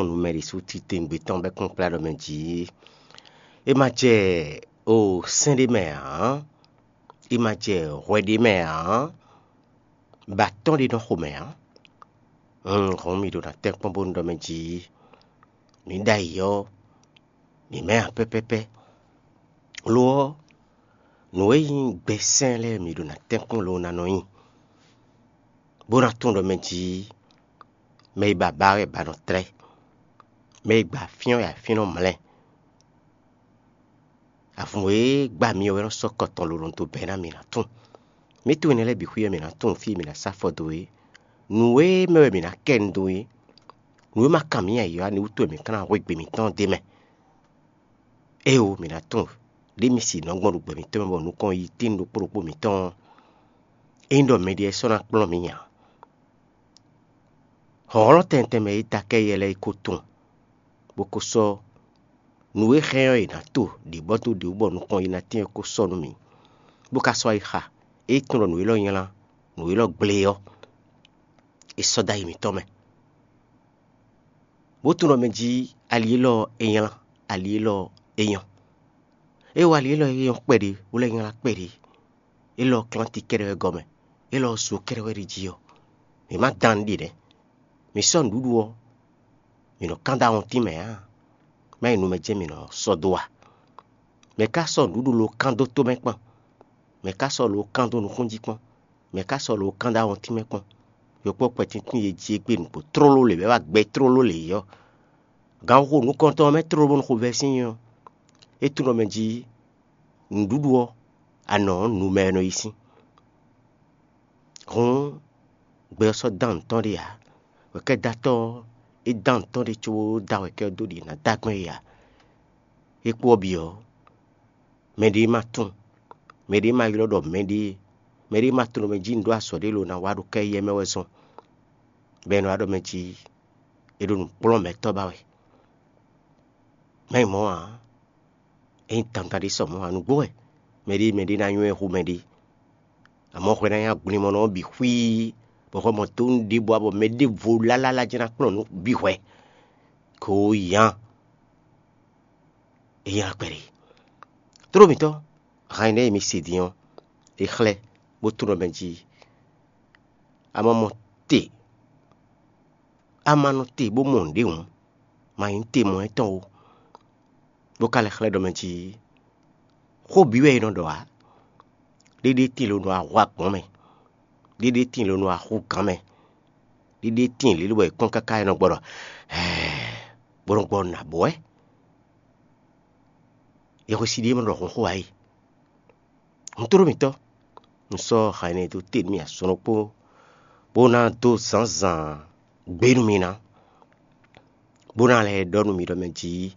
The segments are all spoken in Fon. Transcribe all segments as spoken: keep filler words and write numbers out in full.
nú mɛ ɖésú titewungbe tɔn bɔ é kún kplá ɖɔ mɛ jǐ. É ma jɛ o sɛ́n ɖé mɛ ǎ, é ma jɛ hwɛ ɖé mɛ ǎ, bɔ atɔ́n ɖé nɔ xo mɛ ǎ. Un hɔn mì ɖo ná tɛ́nkpɔ́n bónú ɖɔ mɛ jǐ. Mǐ ɖ'ayǐ ɔ́, mǐ mɛ ǎ pɛ́pɛ́pɛ́. Lo ɔ́, nǔ e nyí gbɛsɛ́n lɛ́ɛ mǐ ɖo ná tɛ́nkpɔ́n lo ná nɔ nyi, bó ná tunwun ɖɔ mɛ jǐ mɛ e ba ba wɛ ba nɔ tlɛ́, mɛ e gba afyɔ́n wɛ afyɔ́n nɔ mlɛ́. Avǔn e gba mi ɔ́ wɛ nɔ sɔ́ kɔ tɔn lǒ nɔ dó bɛ́ ná mǐ ná tunwun. Mǐ tunwun énɛ́ lɛ́ɛ bǐ xwí wɛ mǐ ná tunwun fí e mǐ ná sá afɔ dó é. Nǔ e mɛ wɛ mǐ ná kɛ nu dó é. Nǔ e ma kan mǐ ǎ é ɔ́, ani wútu wɛ mǐ ka ná hwe gbe mǐtɔn d'é mɛ? Éeǒ, mǐ ná tunwun ɖé mi si nɔ gbɔn ɖo gbɛ mǐtɔn mɛ bɔ nukɔn yi tín ɖokpó ɖokpó mǐtɔn ɔ́, é nyí ɖɔ mɛɖé sɔ́ ná kplɔ́n mǐ ǎ. Hlɔ̌nhlɔ́n tɛntɛn mɛ e ta kɛ́ yɛ lɛ́ɛ é ko tunwun, bó ko sɔ́ nǔ e hɛn ɔ́ è nǎ to ɖě bɔ dó ɖě wú bɔ nukɔn yi ná tɛ́n ɔ́ ko sɔ́ nú mǐ, bó ka sɔ́ ayixa e tunwun ɖɔ nǔ élɔ́ nylá, nǔ élɔ́ gblé ɔ́, è sɔ́ dó ayi mǐtɔn mɛ. Bó tunwun ɖɔ mɛ jí ali élɔ́ ɔ́ é nylá, ali élɔ́ ɔ́ é nyɔ́. É wá ali élɔ́ é nyɔ́ kpɛɖé, bó lɛ́ nylá kpɛɖé. Élɔ́ klánti kɛ́ɖɛ́ wɛ gɔ́ mɛ, élɔ́ zo kɛ́ɖɛ́ wɛ ɖi jí ɔ́, mǐ má dán nǔ ɖi nɛ́. Mǐ sɔ́ nǔɖuɖu ɔ́, mǐ nɔ kán dó awɔntín mɛ ǎ, má nyí nu mɛ jɛ́n mǐ nɔ sɔ́ dó a? Mɛ̌ ka sɔ́ nǔɖuɖu lo kán dó tó mɛ kpɔ́n? Mɛ̌ ka sɔ́ lo kán dó nukún jí kpɔ́n? Mɛ̌ ka sɔ́ lo kán dó awɔntín mɛ kpɔ́n? Yɔkpɔ́ kpɛtíntún e jí é gbe nǔgbó tlóló lě bɔ é wá gbɛ tlóló lě ɔ́, ganxixo nukɔntɔn ɔ́ mɛ tlóló bónú xovɛ́ sín nyí ɔ́, é tunwun ɖɔ mɛ jí nǔɖuɖu ɔ́, anɔ̌ ɔ́, nu mɛ wɛ nɔ yi sín. Hǔn gbɛ ɔ́ sɔ́ dán nǔ tɔn ɖé ǎ. Wɛ̌kɛ́datɔ́ ɔ́, é dán nǔ tɔn ɖé cóbó dó awɛ̌kɛ́ ɔ́ dó ɖi è nǎ dó agbɛ́n é ǎ. É kpó ɔ́ bǐ ɔ́, mɛɖé ma tunwun, mɛɖé ma ylɔ́ ɖɔ mɛɖé, mɛɖé ma tunwun ɖɔ mɛ jí un ɖó azɔ̌ ɖé lo ná wa ɖo kɛ́ éyɛ́ mɛ wɛ zɔn, bɔ è nɔ wá ɖɔ mɛ jí è ɖo nǔ kplɔ́n mɛ̌tɔ́ ba wɛ. Má nyí mɔ̌ ǎ, é nyí dandan ɖé sɔ mɔ̌ ǎ, nǔgbó wɛ mɛɖé mɛɖé ná nywɛ́ hú mɛɖé. Amɔ̌ hwɛ ná nyí agblimɔnɔ ɔ́ bǐ xwíí, bɔ hwɛ mɔ dó nú ɖěbǔ ǎ, bɔ mɛ ɖěvo lálálá jɛ́n ná kplɔ́n nǔ bǐ hwɛ, kó yǎn. É nylá kpɛɖé. Tlóló mǐtɔn, han e nɛ́ e mi se din ɔ́, é xlɛ́, bó tlɔ́n mɛ jí. A ma mɔ te, a ma nɔ te bó mɔ nǔɖé hǔn, ma nyí te mɔ étɔn ó. Bó ka lɛ́ xlɛ́ ɖɔ mɛ jí xó bǐ wɛ è nɔ ɖɔ ǎ. Ɖéɖé tíin lo nɔ ahú agbɔ̌n mɛ, ɖéɖé tíin lo nɔ ahú gǎn mɛ, ɖéɖé tíin lě bɔ è kpɔ́n káká è nɔ gbɔ ɖɔ ɛɛ, bó nɔ gbɔ nǎ bɔ wɛ. Yɛhwesin ɖíe ma ɖɔ hǔn xó ǎ é. Un tló mǐtɔn, un sɔ́ ha énɛ́ dó te nú mì azɔn ɖokpó, bó ná dó zǎnzǎn gbé nú mi ná, bó ná lɛ́ ɖɔ nú mi ɖɔ mɛ jí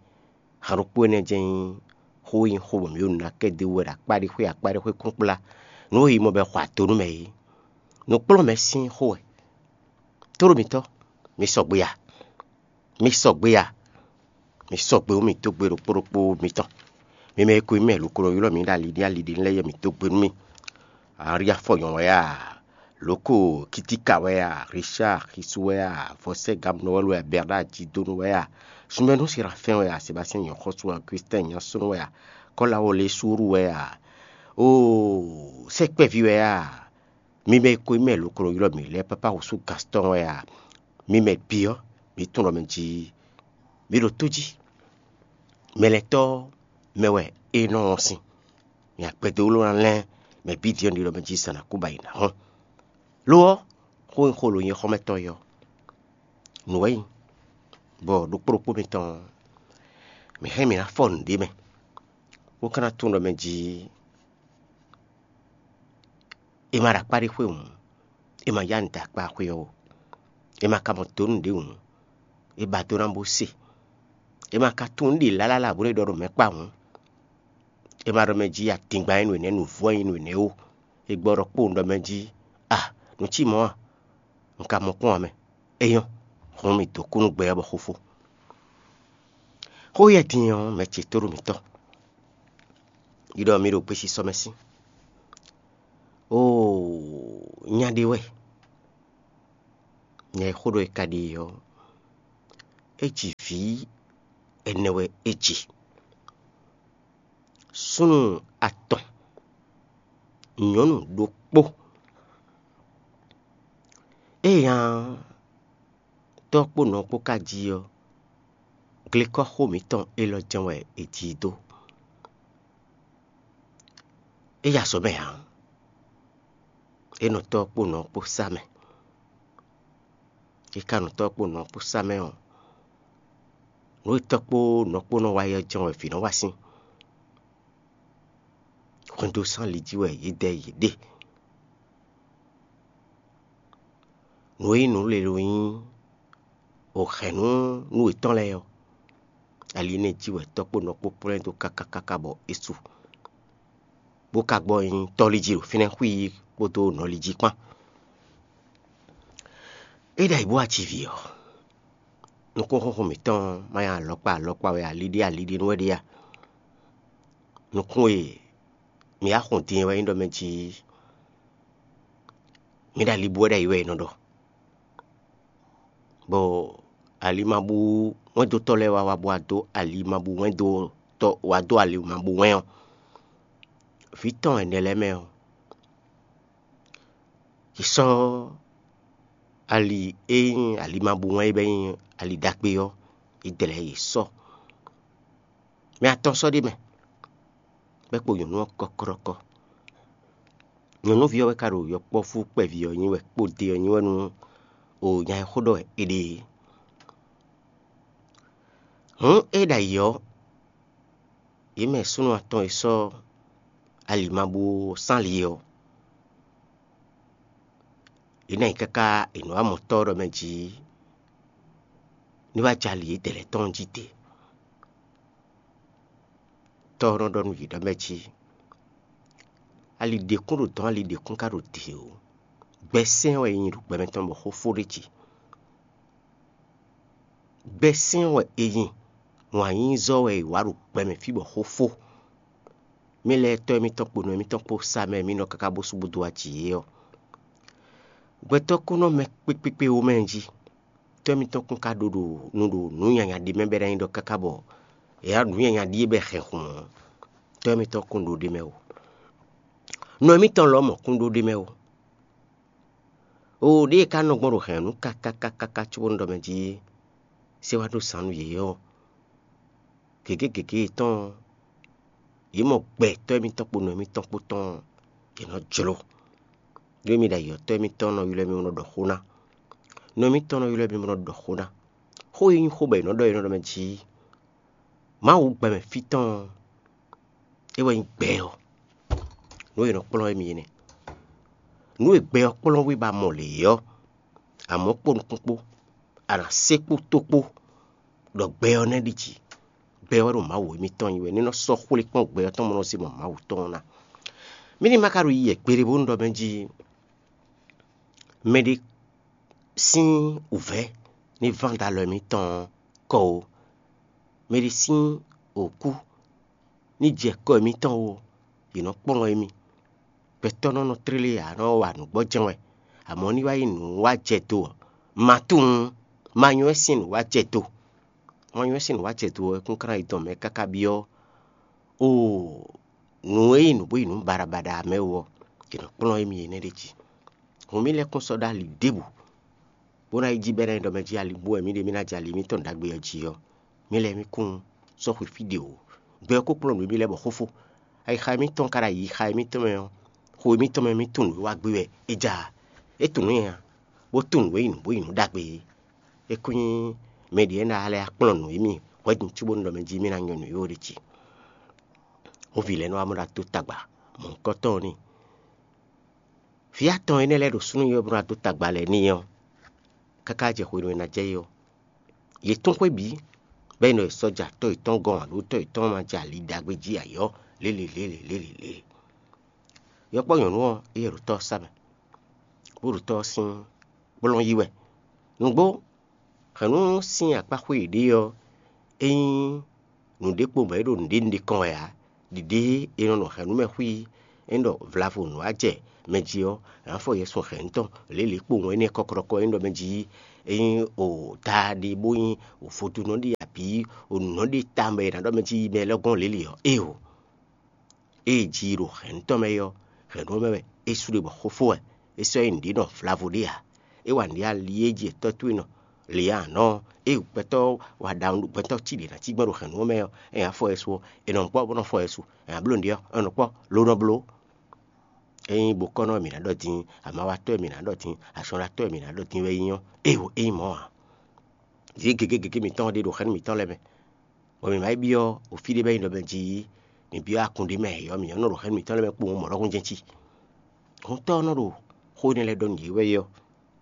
ha ɖokpó énɛ́ jɛ́n nyí xó e nyí xó bɔ mǐ ɖo nǔ ná kɛ dó wú wɛ ɖo akpá ɖé xwé akpá ɖé xwé kúnkplá nǔ e yi mɔ bɔ è xɔ ato nú mɛ é. Nǔkplɔ́nmɛ sín xó wɛ. Tló mǐtɔn, mi sɔgbe a? Mi sɔgbe a? Mi sɔgbe wú mi dó gbe ɖokpó ɖokpó mitɔn. Mi mɛ e ko nyí mɛ lokolo ylɔ́ mǐ ɖo ali ɖé ali ɖé lɛ́ɛ yɛ mi dó gbe nú mì. Aríafɔnyɔ wɛ a? Loko Kitika wɛ a? Richard Xisu wɛ a? Vɔsɛ Gamnɔwɛl wɛ a? Bernard Jidonu wɛ a? Sunbɛnu Serafin wɛ a? Sébastien Nyɔxɔsu wɛ a? Augustin Nyasunu wɛ a? Kɔlawole Suru wɛ a? Oo, sɛkpɛvi wɛ a? Mi mɛ e ko nyí mɛ lokolo ylɔ́ mǐ lɛ́ɛ pápá wǔsú Gastɔn wɛ a? Mi mɛ bǐ ɔ́, mǐ tunwun ɖɔ mɛ jí mǐ ɖo tó jí. Mɛ lɛ́ɛ tɔ́ mɛ wɛ é nɔ wɔn sin. Mi agbɛdowló ná lɛ́n mɛ bǐ din ɔ́ ɖi ɖɔ mɛ jí zǎn ná kú ba yi ná hɔn. Lo ɔ́, xó e xo lo nyɛ xɔ́mɛtɔ́ é ɔ́, nǔ wɛ nyí, bɔ ɖokpó ɖokpó mitɔn ɔ́, mǐ hɛn mǐ ná fɔ nǔɖé mɛ, bó ka ná tunwun ɖɔ mɛ jí è ma ɖo akpá ɖé xwé hǔn, è ma yá nǔ dó akpá xwé ɔ́ ó. È ma ka mɔ dǒ nǔɖé hǔn, è ba dó ná bó se. È ma ka tunwun nǔ ɖě lálálá bó nɔ́ ɖɔ ɖo mɛ kpá hǔn. È ma ɖɔ mɛ jí adingban nyí nǔ énɛ́, nǔvú wɛ nyí nǔ énɛ́ ó. È gbɔ ɖɔ kpowun ɖɔ mɛ jí a, nǔ cí mɔ̌ a? Un ka mɔ kpɔ́n ǎ mɛ. É nyɔ́, hǔn mì dǒ kú nú gbɛ ɔ́ bɔ xó fó. Xó yɛ din ɔ́, mɛ ce tóɖó mǐtɔn. Yi ɖɔ mi ɖo gbesisɔ mɛ sín. Oo, nya ɖé wɛ. Nya e xó ɖɔ è ka ɖe ɔ́, É ji vǐ ɛnɛ wɛ é ji: súnnu atɔn, nyɔ̌nu ɖokpó. Éyǎ tɔ́ kpó nɔ kpó ka jí ɔ́, glekɔ́xo mǐtɔn élɔ́ jɛ́n wɛ è ji i dó. É yi azɔ̌ mɛ ǎ. É nɔ tɔ́ kpó nɔ kpó sá mɛ. É ka nɔ tɔ́ kpó nɔ kpó sá mɛ ɔ́, nǔ e tɔ́ kpó nɔ kpó nɔ wa é ɔ́ jɛ́n wɛ vǐ nɔ wa sín. Hwɛndo sán li jí wɛ yědɛɛ yě ɖe. Nǔ e nyí nǔ lěló nyí wǒxɛnú nú yětɔn lɛ́ɛ ɔ́, ali énɛ́ jí wɛ tɔ́ kpó nɔ kpó kplɔ́n ɛ dó káká káká bɔ é su, bó ka gbɔ nyi tɔ́ li jí ɖo fínɛ́ xwí kpódó nɔ li jí kpán. É ɖo ayǐ bó wá ji vǐ ɔ́, nukúnxúnxún mǐtɔn ma nyí alɔkpa alɔkpa wɛ, ali ɖé ali ɖé nú wɛ ɖe a? Nukún e mǐ wá xun din é wɛ nyí ɖɔ mɛ jí mǐ ɖo ali bú wɛ ɖo ayǐ wɛ è nɔ ɖɔ. Bɔ alimabú wɛ́ndótɔ́ lɛ́ɛ wá wá bó wá dó alimabú wɛ́ndótɔ́ wá dó alimabú wɛ́n ɔ́, vǐ tɔn ɛnɛ lɛ́ɛ mɛ ɔ́, yě sɔ́ ali e nyí alimabú wɛ́n é bɛ́ nyí ali ɖagbe ɔ́, yě dlɛ̌ yě sɔ́. Mɛ atɔn sɔ́ ɖ'é mɛ, bɔ é kpo nyɔ̌nu ɔ́ kɔ́kɔ́ɖɔ́kɔ́. Nyɔ̌nuví ɔ́ wɛ ka ɖo yɔkpɔ́vú kpɛví ɔ́ nyi wɛ kpó de ɔ́ nyi wɛ nú o nya e xó ɖɔ wɛ è ɖe é. Hǔn é ɖo ayǐ ɔ́, yě mɛ súnnu atɔn e sɔ́ alimabú sán ali ɔ́, yě ná yi káká è nǔ wa mɔ tɔ́ ɔ́ ɖɔ mɛ jí ní wá jɛ ali yědɛɛ lɛ́ɛ tɔn jí te. Tɔ́ ɔ́ nɔ ɖɔ nú yě ɖɔ mɛ jí: ali ɖěkún ɖo dɔ̌n, ali ɖěkún ka ɖo dě ó. Gbɛsɛ́n wɛ è nyi ɖo gbɛ mɛtɔn bɔ xó fó ɖ'é jí. Gbɛsɛ́n wɛ è nyi, wǎn yíyí zɔ́ wɛ è wǎ ɖo gbɛ mɛ fí bɔ xó fó. Mǐ lɛ́ɛ tɔ́ émítɔn kpo nɔ émítɔn kpó sá mɛ e mǐ nɔ káká bó sú bó dó wá jǐ é ɔ́, gbɛtɔ́ kún nɔ mɛ kpékpékpé ó mɛ jí. Tɔ́ émítɔn kún ka ɖo ɖo nu ɖo nǔ nyanya ɖé mɛ bɔ é ná nyí ɖɔ káká bɔ è wá nǔ nyanya ɖíe bɔ è hɛn hun ɔ́, tɔ́ émítɔn kún ɖo ɖ'é mɛ ó. Nɔ émítɔn lɔmɔ̌ kún ɖó ɖ'é mɛ ó. Oo, ɖěe é ka nɔ gbɔn ɖo hɛ̌nnu káká káká cóbónú ɖɔ mɛ jí é, sé wá ɖó zǎn nú yě ɔ́, gěgé gěgé yětɔn ɔ́, yě mɔ gbɛ tɔ́ émítɔn kpó nɔ émítɔn kpó tɔn ɔ́, yě nɔ jló. Ɖó émí ɖo ayǐ ɔ́, tɔ́ émítɔn nɔ ylɔ́ émí bó nɔ ɖɔ xó ná. Nɔ émítɔn nɔ ylɔ́ émí bó nɔ ɖɔ xó ná. Xó e nyí xó bɔ è nɔ ɖɔ é nɔ ɖɔ mɛ jí Mawu gbɛmɛ fí tɔn ɔ́, é wɛ nyí gbɛ ɔ́. Nǔ e è nɔ kplɔ́n émí é nɛ́. Nǔ e gbɛ ɔ́ kplɔ́n wé ba mɔ lě ɔ́, amɔ̌ kpó nukún kpó, a nǎ se kpó tó kpó, ɖɔ gbɛ ɔ́ nɛ́ ɖi jǐ. Gbɛ ɔ́ ɖo Mawu émítɔn nyí wɛ, ní nɔ sɔ́ xwlé kpɔ́n gbɛ ɔ́ tɔn bó nɔ zé mɔ Mawu tɔn ɔ́ ná. Mǐ ní ma ka ɖo yi yɛ gbeɖé bónú ɖɔ mɛ jí mɛɖé sín wǔvɛ́ ní ván dó alɔ émítɔn ɔ́ kɔ ó. Mɛɖé sín wǒkú ní jɛ kɔ émítɔn ó, yě nɔ kplɔ́n émí. Gbɛtɔ́ nɔ nɔ tlélé ǎ, nɔ wa nǔgbɔ́jɛ́n wɛ, amɔ̌ ní wá nyí nǔ wá jɛ do ɔ́, ma tunwun, ma nywɛ́ sín nǔ wá jɛ do. Ma nywɛ́ sín nǔ wá jɛ do ɔ́, é kún ka ná yi dɔn mɛ káká byɔ́ oo nǔ e nyí nǔ bó nyí nǔ baɖabaɖa mɛ wú ɔ́, è nɔ kplɔ́n émí énɛ́ ɖ'é jí. Hǔn mì lɛ́ kún sɔ́ ɖó ali ɖěbǔ, bó ná yi jí bɔ é ná nyí ɖɔ mɛ jí ali bú wɛ mǐ ɖe mì ná jɛ ali mǐtɔn ɖagbe ɔ́ jí ɔ́, mǐ lɛ́ɛ mì kún sɔ́ xwe fí ɖě ó. Gbɛ ɔ́ ko kplɔ́n nǔ émí lɛ́ɛ bɔ xófó, ayixa émítɔn ka ɖo ayixa émítɔn mɛ ɔ́, xo émítɔn mɛ mì tunwun nǔ e wá gbé wɛ é ja ǎ. É tunwun nǔ nyanya, bó tunwun nǔ e nyí nǔ bó nyí nǔ ɖagbe é. É kún nyí mɛ ɖě e ná lɛ́ wá kplɔ́n nǔ émí hwɛ̌ din cóbónú ɖɔ mɛ jí mì ná nyɔ́ nǔ é ó ɖ'é jí. Hǔn vǐ lɛ́ɛ nɔ wá mɔ ɖo adó tagba mɔ̌hunkɔtɔn ɔ́ n'i. Vǐ atɔn énɛ́ lɛ́ɛ ɖo súnnu ɔ́ bó ná dó tagba lɛ́ɛ n'i ɔ́, káká jɛ hwenu e ná jɛ é ɔ́, yě tún xwé bǐ, bɔ é nɔ yi sɔ́ja tɔ́ yětɔn gɔ́n ǎ, ɖó tɔ́ yětɔn ma jɛ ali ɖagbe jí ǎ ɔ́, lě lě lě lě lě lě lě. Yɔkpɔ́ nyɔ̌nu ɔ́, éyɛ́ ɖo tɔ́ ɔ́ sá mɛ, bó ɖo tɔ́ ɔ́ sín kplɔ́n yí wɛ. Nǔgbó, hɛ̌nnu sín akpá xwé yěɖée ɔ́, é nyí nǔɖé kpo bɔ é ɖo nǔɖé nǔɖé kɔn wɛ ǎ. Ɖiɖe e nɔ nɔ hɛ̌nnu mɛ xwí é ɖɔ vlavo nǔ wá jɛ mɛ jí ɔ́, è nǎ fɔ Yɛsu hɛ̌nnu tɔn lě lě kpowun énɛ́ kɔkɔɖɔkɔ e nyí ɖɔ mɛ jí é nyí o daa ɖé bó nyí o vodúnɔ ɖé abǐ o nǔnɔ ɖé tawun bɔ è nǎ ɖɔ mɛ jí mɛ lɛ́ɛ gɔ́n lě lě ɔ́, éeǒ. Ée ji ɖo hɛ̌nnu tɔn mɛ é ɔ́, hɛ̌nnu ɔ́ mɛ wɛ é sú ɖe bɔ xó fó wɛ. É sɔ́ nyí nǔɖé nɔ vlavo ɖé ǎ. É wa nǔɖé ali é jí è tɔ́ towe nɔ lě ǎ nɔ. Ée gbɛtɔ́ wa ɖawu gbɛtɔ́ cí ɖě ná cí gbɛn ɖo hɛ̌nnu ɔ́ mɛ ɔ́, é nyí afɔ ɛ su ɔ́, è nɔ kpɔ́ bó nɔ fɔ ɛ su. È nǎ bló nǔɖé ɔ́, è nɔ kpɔ́ ló nɔ bló. Ényí bokɔ́nɔ mǐ ná ɖɔ din, amawatɔ́ mǐ ná ɖɔ din, asɔ́nɖatɔ́ mǐ ná ɖɔ din wɛ é nyí ɔ́, éeǒ, é nyí mɔ̌ ǎ. Vǐ gěgé gěgé mǐtɔn ɖé ɖo xɛ́nú mǐtɔn lɛ́ɛ mɛ, bɔ mǐ ma yi byɔ́ o fí ɖé bɔ é nyí ɖɔ mɛ jí mǐ byɔ́ akun ɖé mɛ ɔ́, mǐ ɔ́ nɔ ɖo xɛ́nú mǐtɔn lɛ́ɛ mɛ kpowun mɔ̌ ɖɔhun jɛ́n cí. Hɔntɔ́ ɔ́ nɔ ɖo xó énɛ́ lɛ́ɛ ɖɔ nú yě wɛ é ɔ́,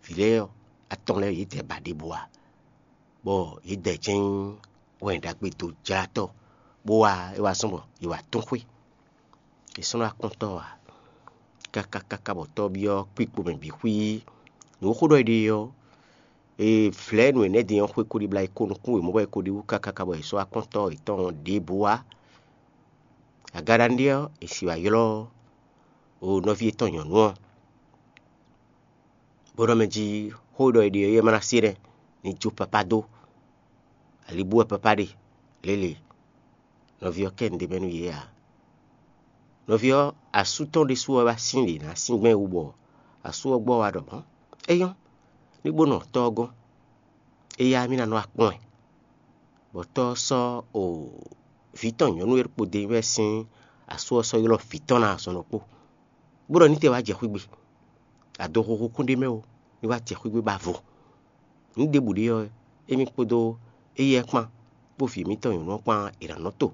vǐ lɛ́ɛ ɔ́, atɔn lɛ́ɛ yě dɛ ba ɖěbǔ ǎ, bɔ yě dɛ jɛ́n nyí wɛn ɖagbe dojlátɔ́, bó wá é wá zɔ́n bɔ yě wá tún xwé. È sɔ́ nɔ wá kpɔ́n tɔ́ ɔ́ ǎ, káká káká bɔ tɔ́ ɔ́ byɔ́ kpíkpo mɛ bǐ xwíí. Nǔ e xó ɖɔ è ɖe ɔ́, è vlɛ̌ nǔ énɛ́ din ɔ́ xwé ko ɖibla yi ko nukún wěmɔ̌ bɔ è ko ɖi wú káká bɔ è sɔ́ wá kpɔ́n tɔ́ yětɔn ɖěbǔ wá. Agaɖanuɖé ɔ́, è si wá ylɔ́ o nɔví yětɔn nyɔ̌nu ɔ́, bó ɖɔ mɛ jí xó e ɖɔ è ɖe ɔ́, é ma ná se nɛ́, ní jó papá dó. Ali bú wɛ papá ɖe lěle. Nɔví ɔ́ kɛ nǔɖé mɛ nú yě ǎ. Nɔví ɔ́, asú tɔn ɖésú ɔ́ wá sín ɖě ná sín gbɛ́n wú bɔ asú ɔ́ gbɔ wá ɖɔ mɔ̌. É nyɔ́, ní bó nɔ tɔ́ ɔ́ gɔ́n. Éyá mì ná nɔ akpɔ́n ɛ. Bɔ tɔ́ ɔ́ sɔ́ o vǐ tɔn nyɔ̌nu e ɖokpó dó e wɛ sín asú ɔ́ sɔ́ ylɔ́ vǐ tɔn ná azɔn ɖokpó, bó ɖɔ ní te wá jɛ xwígbe. Adoxoxo kún ɖ'é mɛ ó, ní wá jɛ xwígbe ba vo. Nǔ ɖěbǔ ɖe ɔ́, émí kpódó éyɛ́ kpán, kpó vǐ mǐtɔn nyɔ̌nu ɔ́ kpán è nǎ nɔ to.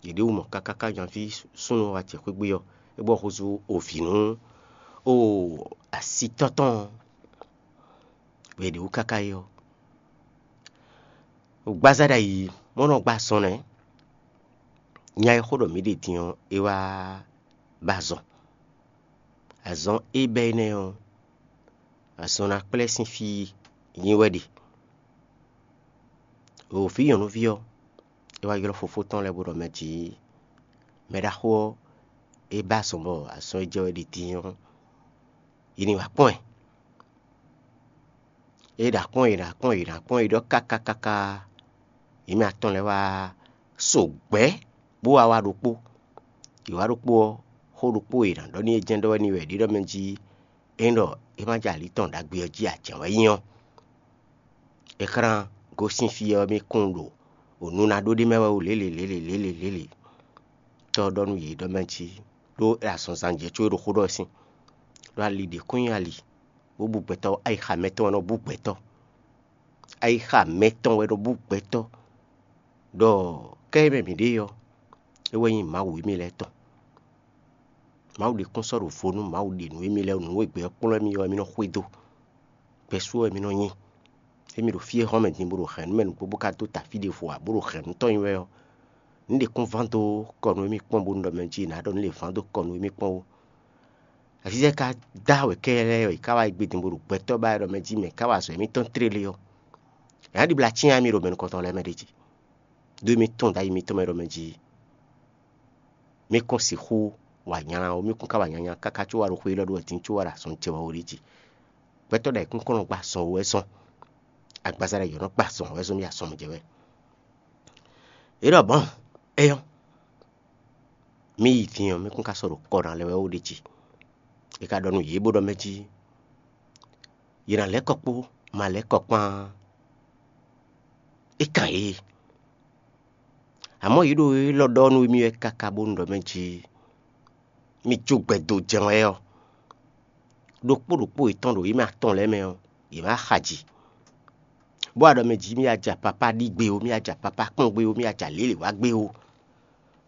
Yě ɖe wú mɔ káká ká nyaví súnnu ɔ́ wá jɛ xwé gbe ɔ́, é gbɔ húzú o vǐ nú o asitɔ́ tɔn ɔ́, bɔ è ɖě wú káká é ɔ́. Gbazá ɖ'ayǐ mɔ̌ nɔ gbá azɔn nɛ́. Nya e xó ɖɔ mǐ ɖe din ɔ́, é wá ba azɔn. Azɔn e bɛ́ énɛ́ ɔ́, azɔn ná kplɛ́ sín fí nyí wɛ ɖe. O vǐ nyɔ̌nuví ɔ́, é wá ylɔ́ fofó tɔn lɛ́ɛ bó ɖɔ mɛ jǐ mɛ ɖaxó ɔ́, é bá azɔn bɔ azɔn e jɛ wɛ ɖi din ɔ́, yi ní wá kpɔ́n ɛ. É ɖo akpɔ́n e ɖo akpɔ́n e ɖo akpɔ́n e ɖɔ káká káká, yě mɛ atɔn lɛ́ɛ wá so gbɛ̌ bó wá wá ɖokpó. Yě wá ɖokpó ɔ́, xó ɖokpó e è nǎ ɖɔ n'i é jɛ́n ɖɔ wɛ n'i wɛ ɖě ɖɔ mɛ jí é ɖɔ é má jɛ ali tɔn ɖagbe ɔ́ jí ǎ jɛ́n wɛ nyí ɔ́. É xlán gosín fí ɔ́ mì kún ɖo nǔ ná ɖó ɖ'é mɛ wɛ ó lěle lěle lěle lěle. Tɔ́ ɔ́ ɖɔ nú yě ɖɔ mɛ jí ɖó azɔnzan jɛ có é ɖo xó ɖɔ sín, ɖó ali ɖě kún nyí ali, bó bu gbɛtɔ́ ayixa mɛtɔn wɛ nɔ bú gbɛtɔ́. Ayixa mɛtɔn wɛ nɔ bú gbɛtɔ́, ɖɔ kɛ́ e mɛ mǐ ɖe ɔ́, é wɛ nyí Mawu émí lɛ́ɛ tɔn. Mawu ɖe kún sɔ́ ɖo vo nú Mawu ɖe nǔ émí lɛ́ɛ nǔ e gbɛ ɔ́ kplɔ́n émí ɔ́, émí nɔ xwedó. Gbɛ́sú wɛ émí nɔ nyí. Émí ɖo fí e hɔn mɛ din bó ɖo hɛ̌nnu mɛ nǔgbó bó ka dó ta fí ɖěvo ǎ, bó ɖo hɛ̌nnu tɔn nyi wɛ ɔ́, nǔ ɖě kún ván dó kɔ nú émí kpɔ́n bónú ɖɔ mɛ jí è nǎ ɖɔ nǔ lě ván dó kɔ nú émí kpɔ́n ó. Azizɛ ka dá wɛ kɛ́ lɛ́ɛ wɛ, è ká wá yi gbe din bó ɖo gbɛtɔ́ ba wɛ ɖɔ mɛ jí mɛ ká wa azɔ̌ émítɔn tlélé ɔ́, è nǎ ɖibla cyán émí ɖo mɛ nukɔntɔn lɛ́ɛ mɛ ɖ'é jí. Ɖó émí tɔ́n ɖ'ayǐ mitɔn mɛ ɖɔ mɛ jí mí kún sixú wa nylá ó, mí kún ka wa nyanya káká có wá ɖo xwé élɔ́ ɖó wɛ din có wá ɖo azɔn jɛ wɛ ó ɖ'é jí. Gbɛtɔ́ ɖo ayǐkúnkɔ́n nɔ gbá azɔn wɛ zɔ́n, agbaza ɖo ayǐ nɔ gbá azɔn wɛ zɔ́n mì azɔn jɛ wɛ. É ɖɔ bɔn, é nyɔ́, mí yi din ɔ́, mí kún ka sɔ́ ɖo kɔ ná lɛ́ wɛ ó ɖ'é jí. É ka ɖɔ nú yě bó ɖɔ mɛ jí yě ná lɛ́ kɔ kpó ma lɛ́ kɔ kpán é kan yě. Amɔ̌ yě ɖo élɔ́ ɖɔ nú émí wɛ káká bónú ɖɔ mɛ jí mì jó gbɛ dó jɛ́n wɛ ɔ́, ɖokpó ɖokpó yětɔn ɖo yě mɛ atɔn lɛ́ɛ mɛ ɔ́, yě má xa jǐ. Bó wá ɖɔ mɛ jí mì aja papá ɖi gbé ó, mì aja papá kpɔ́n gbé ó, mì aja lělě wá gbé ó.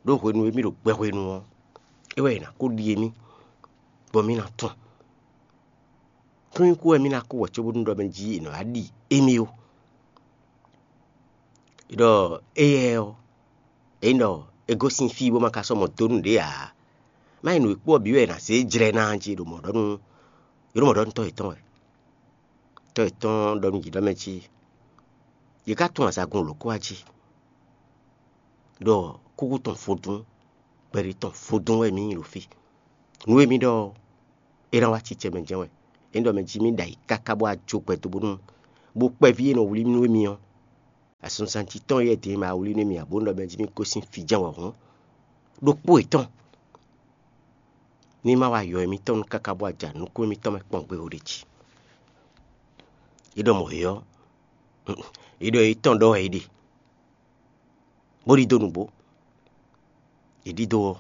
Ɖó hwenu e mì ɖo gbɛ hwenu ɔ́, é wɛ è nǎ kó ɖi émí, bɔ mì ná tɔn. Kúnnyíkú wɛ mì ná kó wɛ cóbónú ɖɔ mɛ jí è nɔ wá ɖi émí ó. Ɖɔ éyɛ́ ɔ́, é nyí ɖɔ é gosín fí bó ma ka sɔ́ mɔ dó nǔɖé ǎ. Má nyí nǔ e kpó ɔ́ bǐ wɛ è nǎ zé jlɛ́ ná jí ɖo mɔ̌ ɖɔ nú, é ɖo mɔ̌ ɖɔ nú tɔ́ yětɔn wɛ. Tɔ́ yětɔn ɖɔ nú yě ɖɔ mɛ jí yě ká tunwun azagun lǒkɔ́ wá jí, ɖɔ kúkú tɔn vodún, kpɛɖé tɔn vodún wɛ mǐ nyí ɖo fí. Nǔ e mì ɖɔ ɔ́, é ná wá cicɛ mɛ jɛ́n wɛ. É ɖɔ mɛ jí mì ɖo ayǐ káká bó wá jó gbɛ dó bónú bó kpɛví e nɔ wlí nú émí ɔ́, asunsanti tɔn e din ma wlí nú émí ǎ, bónú ɖɔ mɛ jí mì gosín fí jɛ́n wɛ hǔn, ɖokpó yětɔn ní ma wá yɔ émítɔn nú káká bó wá ja nukún émítɔn mɛ kpɔ́n gbé ó ɖe jí. É ɖɔ mɔ̌ é ɔ́, é ɖɔ é tɔn ɖɔ wɛ é ɖe, bó ɖidó nǔgbó. È ɖidó ɔ́,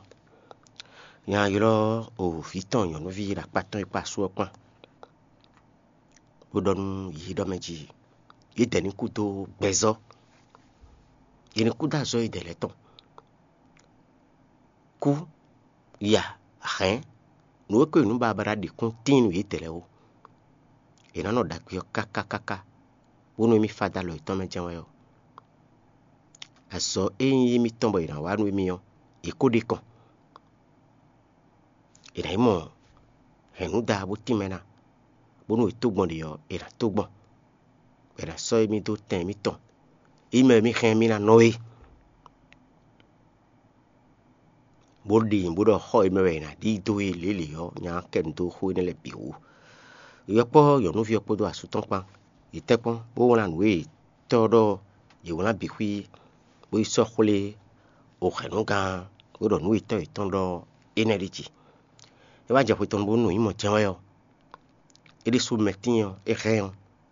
nya ylɔ́ o vǐ tɔn nyɔ̌nuví ɖo akpá tɔn e kpó asú ɔ́ kpán, bó ɖɔ nú yě ɖɔ mɛ jí yě dɛ ní kú dó gbɛzɔ́, yě ní kú dó azɔ̌ yědɛɛ lɛ́ɛ tɔn. Kú, ya, hɛ̌n, nǔ e ko nǔ babáɖá ɖi kún tíin nú yědɛɛ lɛ́ɛ ó. È nǎ nɔ ɖagbe ɔ́ káká káká, bónú émí fá dó alɔ yětɔn mɛ jɛ́n wɛ ɔ́, azɔ̌ e nyí émítɔn bɔ è nǎ wa nú émí ɔ́, è ko ɖe kɔn. È nǎ yi mɔ hɛ̌nnúda bó tínmɛ ná, bónú è tó gbɔn ɖe ɔ́, è nǎ tó gbɔn, bɔ è nǎ sɔ́ émí dó tɛn émítɔn, émí mɛ e mì hɛn mì ná nɔ é. Bó ɖi bó ɖɔ xɔ e mɛ wɛ è nǎ ɖi dó e lělě ɔ́, nya kɛ nu dó xó énɛ́ lɛ́ɛ bǐ wú. Yɔkpɔ́ nyɔ̌nuví ɔ́ kpódó asú tɔn kpán, yě tɛ́nkpɔ́n, bó wlán nǔ e tɔ́ ɔ́ ɖɔ yě wlán bǐ xwí, bó yi sɔ́ xwlé o hɛ̌nnugán, bó ɖɔ nǔ e tɔ́ yětɔn ɖɔ énɛ́ ɖi jí. É wá jɛ xwe tɔn bónú nǔ nyí mɔ jɛ́n wɛ ɔ́, é ɖésú mɛtín ɔ́, é hɛn ɔ́,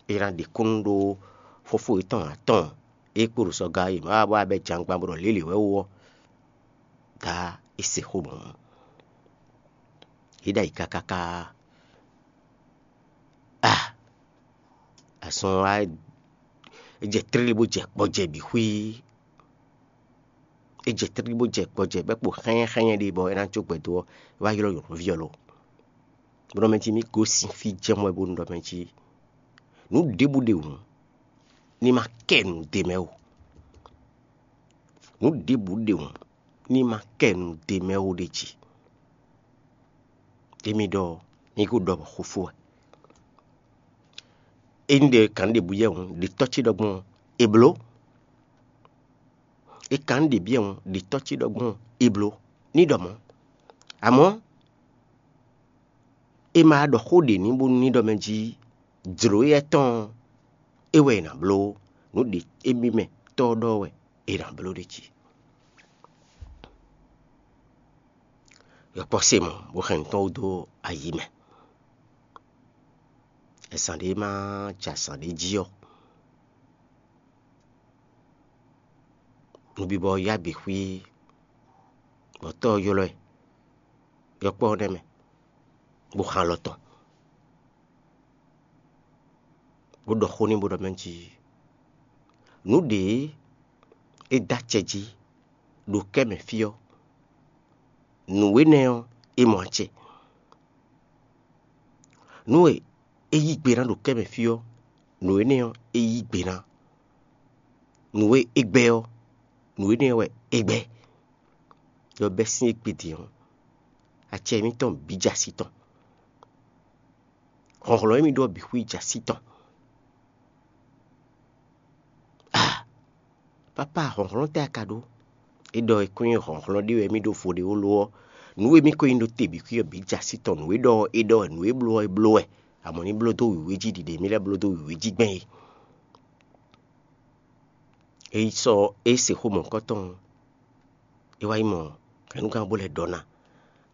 é ná ɖe kúnnu ɖó fófó yětɔn atɔn e kpo ɖo sɔga e má wá bɔ abɛ jangban bɔ ɖɔ lě lě wɛ wú ɔ́, dá é se xó mɔ̌. É ɖo ayǐ káká káá. Ah! Azɔn wá, é jɛ tlí bó jɛ kpɔjɛ bǐ xwíí. É jɛ tlí bó jɛ kpɔjɛ bɔ é kpo xɛ́nyɛ́xɛ́nyɛ́ ɖé bɔ é ná jó gbɛ dó ɔ́, é wá ylɔ́ nyɔ̌nuví ɔ́ lɔ. Bó ɖɔ mɛ jí mì gosín fí jɛ́n mɔ wɛ bónú ɖɔ mɛ jí nǔ ɖěbǔ ɖe wǔ ní ma kɛ nǔ d'é mɛ ó. Nǔ ɖěbǔ ɖe wǔ ní ma kɛ nǔ d'é mɛ ó ɖ'é jí. Émí ɖɔ mì ko ɖɔ bɔ xó fó wɛ. Ényí ɖe kan ɖěbǔ yɛ hǔn, ɖe tɔ́ ce ɖɔ gbɔn è blǒ. È kan ɖě byɔ́ hǔn, ɖe tɔ́ ce ɖɔ gbɔn è blǒ ní ɖɔ mɔ̌. Amɔ̌, è ma ɖɔ xó ɖě ní bónú ní ɖɔ mɛ jí jlǒ éyɛ́ tɔn ɔ́, é wɛ è nǎ bló ó. Nǔ ɖě émí mɛ tɔ́ ɔ́ ɖɔ wɛ è nǎ bló ɖ'é jí. Yɔkpɔ́ se mɔ̌ bó hɛn nǔ tɔn wú dó ayi mɛ. Azǎn ɖé ma jɛ azǎn ɖé jí ɔ́, nubibɔ yá bǐ xwí, bɔ tɔ́ ɔ́ ylɔ́ ɛ, yɔkpɔ́ ɔ́ nɛ́ mɛ, bó xán alɔ tɔn, bó ɖɔ xó n'i bó ɖɔ mɛ jí: Nǔ ɖě é dó acɛ jí ɖo kɛ́ mɛ fí ɔ́, nǔ énɛ́ ɔ́, é mɔ acɛ. Nǔ e é yí gbe ná ɖo kɛ́ mɛ fí ɔ́, nǔ énɛ́ ɔ́, é yí gbe ná. Nǔ e é gbɛ́ ɔ́, nǔ énɛ́ ɔ́ wɛ é gbɛ́. Ɖɔ bɛ́ sín égbé din ɔ́, acɛ mǐtɔn bǐ jɛ así tɔn. Hlɔ̌nhlɔ́n e mì ɖɔ bǐ xwí jɛ así tɔn. Ah! Papa, hlɔ̌nhlɔ́n tɛ́ a ka ɖó? É ɖɔ é kún nyí hlɔ̌nhlɔ́n ɖé wɛ mì ɖo vo ɖe ó lo ɔ́, nǔ e mì ko nyí ɖó te bǐ xwí ɔ́ bǐ jɛ así tɔn. Nǔ e ɖɔ ɔ́, é ɖɔ wɛ, nǔ e bló ɔ́, é bló wɛ. Amɔ̌ ní bló dó wěwé jí ɖi ɖě mì lɛ́ bló dó wěwé jí gbɛn é. É yi sɔ́ é se xó mɔ̌hunkɔtɔn ɔ́, é wá yi mɔ hɛ̌nnugán bó lɛ́ ɖɔ ná.